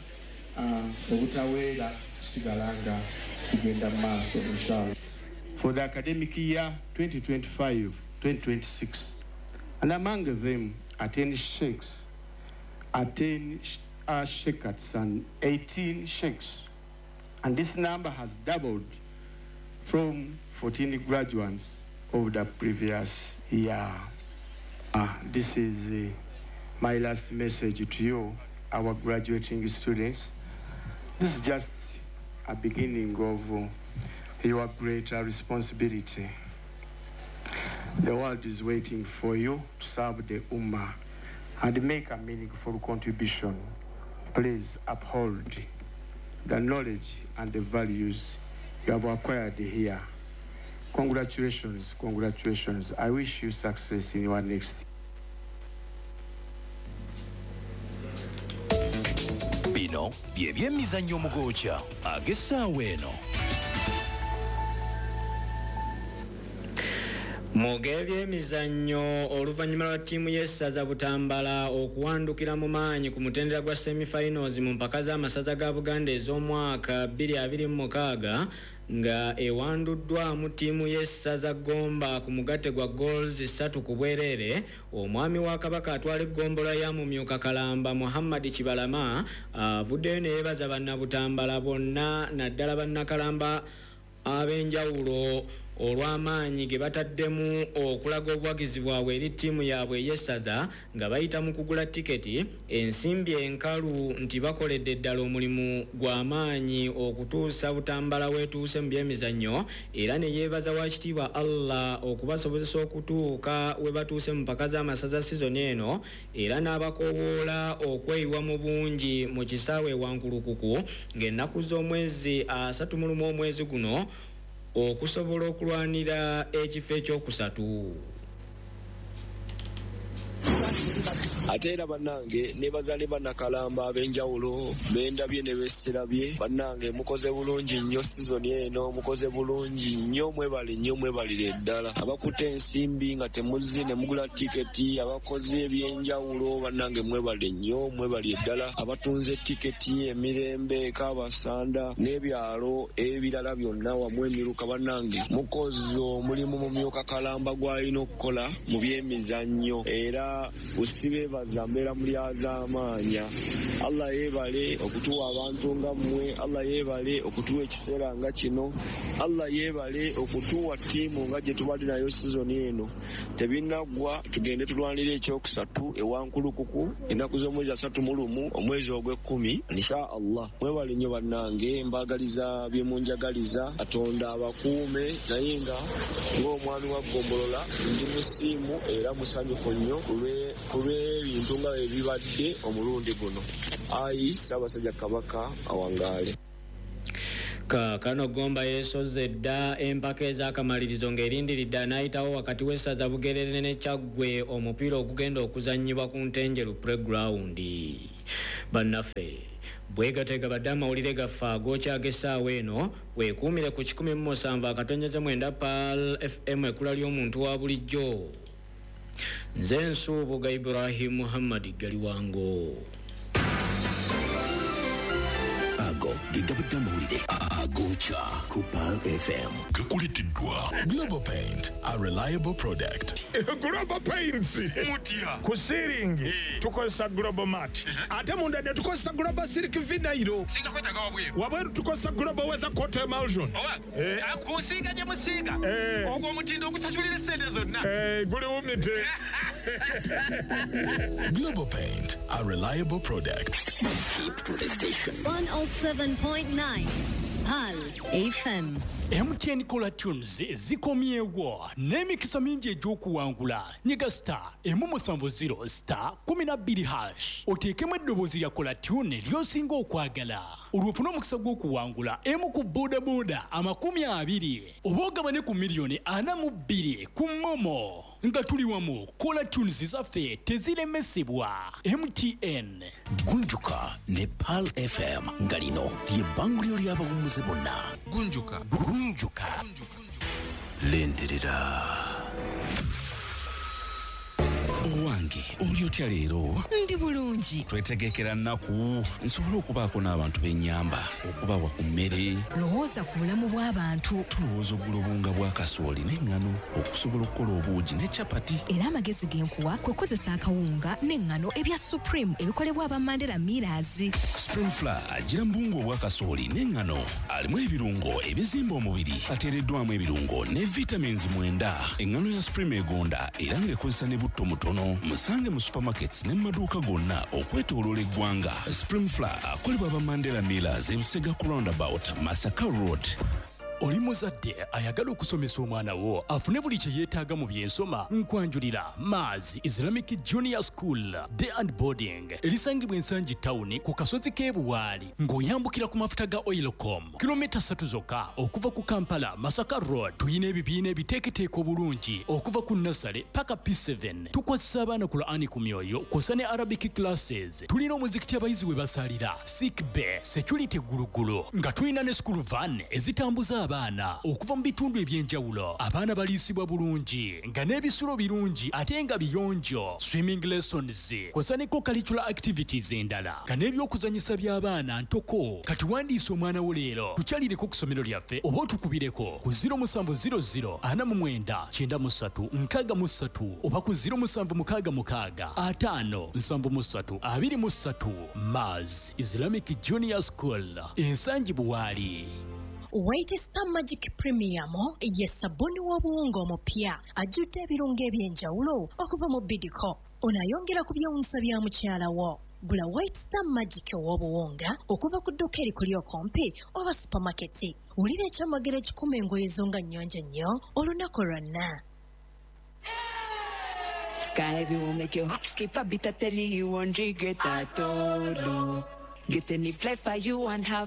obutaweera kusigala nga tugenda mu maaso inshallah. For the academic year 2025-2026, and among them are 10 sheikhs, 10 sheikhs and 18 sheikhs. And this number has doubled from 14 graduates of the previous year. This is my last message to you, our graduating students. This is just a beginning of your greater responsibility. The world is waiting for you to serve the Ummah and make a meaningful contribution. Please uphold the knowledge and the values you have acquired here. Congratulations, congratulations. I wish you success in your next. Bino bye byemizannyo omugoocha ag'essaawa eno. Mu g'ebyemizannyo, oluvannyuma lwa ttiimu y'essaza Butambala okuwandukira mu maanyi ku mutendera gwa semifinals mu mpaka z'amasaza ga Buganda ez'omwaka 2026, nga ewanduddwamu ttiimu y'essaza Gomba ku mugatte gwa goals 3 ku bwereere, omwami wa Kabaka atwala eggombolola ya Mumyuka Kalamba, Muhammad Kibalama, avuddeyo ne yeebaza bannabutambala bonna naddala bannakalamba ab'enjawulo olw'amaanyi ge bataddemu okulaga obuwagizi bwabwe eri ttiimu yaabwe ey'essaza nga bayita mu kugula tiketi, ensimbi enkalu, nti bakoledde ddala omulimu gw'amaanyi okutuusa Butambala weetuuse mu byemizannyo, era ne yeebaza Wakitiibwa Allah okubasobozesa okutuuka we batuuse mu mpaka z'amasaza sizoni eno, era n'abakoowoola okweyiwa mu bungi mu kisaawe e Wankulukuku ng'ennaku z'omwezi 31 omwezi guno okusobola okulwanira ekifo ekyokusatu. Ate era bannange nebaza ne bannakalamba ab'enjawulo bendabye ne besirabye. Bannange mukoze bulungi nnyo sizoni eno, mukoze bulungi nnyo, mwebale nnyo, mwebalire ddala. Abakutte ensimbi nga temuzze ne mugula tiketi, abakoze ebyenjawulo, bannange mwebale nnyo, mwebalire ddala. Abatunze tiketi emirembe, Kabasanda n'ebyalo ebirala byonna wamu emiruka, bannange mukoze omulimu Mumyuka Kalamba gw'alina okukola mu byemizannyo, era Busibeebaza mbeera mulyazaamaanya. Allah yeebale okutuwa abantu nga mmwe, Allah yeebale okutuwa ekiseera nga kino, Allah yeebale okutuwa ttiimu nga gye tubadde nayo sizoni eno. Tebinnaggwa, tugende tulwanire ekyokusatu ewa Nkulukuku ennaku z'omwezi 31 omwezi ogw'ekkumi insha Allah. Mwebale nnyo bannange, mbaagaliza bye munjagaliza, Katonda abakuume, naye nga ng'omwami wa Ggombolola ndi musiimu era musanyufu nnyo ku lw'ebintu nga bwe bibadde omulundi guno. Ayi Ssaabasajja Kabaka awangaale. Kaakano Gomba yeesozze dda empaka ez'akamalirizo ng'erindiridde anaayitawo wakati w'essaza Bugerere ne Kyaggwe omupiira ogugenda okuzannyibwa ku Ntenjeru Playground. Bannaffe bwegateega badde amawulire gaffe agookya ag'essaawa eno, weekuumire ku 107.9 Pearl FM, ekkula ly'omuntu wa bulijjo. Nze Nsuubuga Ibrahim Muhammad Galiwango. Ago ge gabadde amawulire agokya ku Pearl FM. Gakuleteddwa Global Paint, a reliable product. Global Paints mutya ku ceiling tukozesa Global Mat, ate munda ne tukozesa Global Silk Vinyl. Singa kwetaaga wabweru. Wabweru tukozesa Global Weather Coat Emulsion. Kusiiga gye musiiga ogwo omutindo ogusasulira essente zonna. Guli wumite. Global Paint, a reliable product. Keep to the station. 107.9 Pearl FM. MTN Caller Tunes zikomyewo n'emikisa mingi egy'okuwangula. Nyiga star 170 star 12 hash, oteekemu eddoboozi lya Caller Tune ly'osinga okwagala, olwo ofune omukisa gw'okuwangula emu ku bodaboda 20 oba ogabane ku miliyoni 42 ku MoMo. Nga tuli wamu, Caller Tunes zaffe teziremesebwa. MTN. Gunjuka ne Pearl FM, nga lino ly'ebbanguliro ly'abawummuze bonna. Gunjuka. Gunjuka. Lindirira. Owange, oli otya leero? Ndi bulungi. Twetegekera nnaku nsobole okubaako n'abantu b'ennyamba, okubawa ku mmere. Lowooza ku bulamu bw'abantu. Tulowooza okugula obuwunga bwa kasooli n'eŋŋano okusobola okukola obuugi ne capati. Era amagezi ge nkuwa kwe kukozesa akawunga n'eŋŋano ebya Supreme ebikolebwa aba Mandela Millers. Supreme Flour agira mu buwunga obwa kasooli n'eŋŋano, alimu ebirungo ebizimba omubiri, ateereddwamu ebirungo ne vitamins 9. Eŋŋano ya Supreme egonda era ng'ekozesa ne butto mutono. Musange mu supermarkets ne mu maduuka gonna okwetooloola eggwanga. Supreme Flour akolebwa aba Mandela Millers, Ebusega ku roundabout, Masaka Road. Oli muzadde ayagala okusomesa omwana wo afune buli kye yeetaaga mu byensoma, nkwanjulira Maz Islamic Junior School Day and Boarding erisangibwa Ensangi Town ku kasozi k'e Buwaali ng'oyambukira ku mafuta ga Oilcom, kilomita 3 zokka okuva ku Kampala Masaka Road. Tuyina ebibiina ebiteeketeeka obulungi okuva ku nursery paka P7. Tukwasisa abaana Qur'ani ku myoyo kw'ossa ne Arabic classes. Tulina omuzikiti abayizi we basalira, sick bay, security gulugulu, nga tulina ne school van ezitambuza abaana okuva mu bitundu ebyenjawulo. Abaana baliisibwa bulungi nga n'ebisulo birungi ate nga biyonjo, swimming lessons kw'ossa ne co-curricular activities endala nga n'ebyokuzannyisa by'abaana ntoko. Kati wandiisa omwana wo leero, tukyalireko ku ssomero lyaffe oba otukubireko ku 0700 49 93 63 oba ku 0766 5 73 23. Maz Islamic Junior School, Ensangi Buwaali. White Star Magic Premium ye sabuni w'obuwunga omupya ajjudde ebirungo eby'enjawulo okuva mu Bidco. Ono ayongera ku byewuunyisa bya mukyala wo. Gula White Star Magic ow'obuwunga okuva ku dduuka erikuli okumpi oba supermarket. Wulira ekyamagero ekikuma engoye zo nga nnyonjo nnyo olunaku lwonna. Sky will make your heart skip a beat, I tell you you won't regret at all. Get any flavor you want, have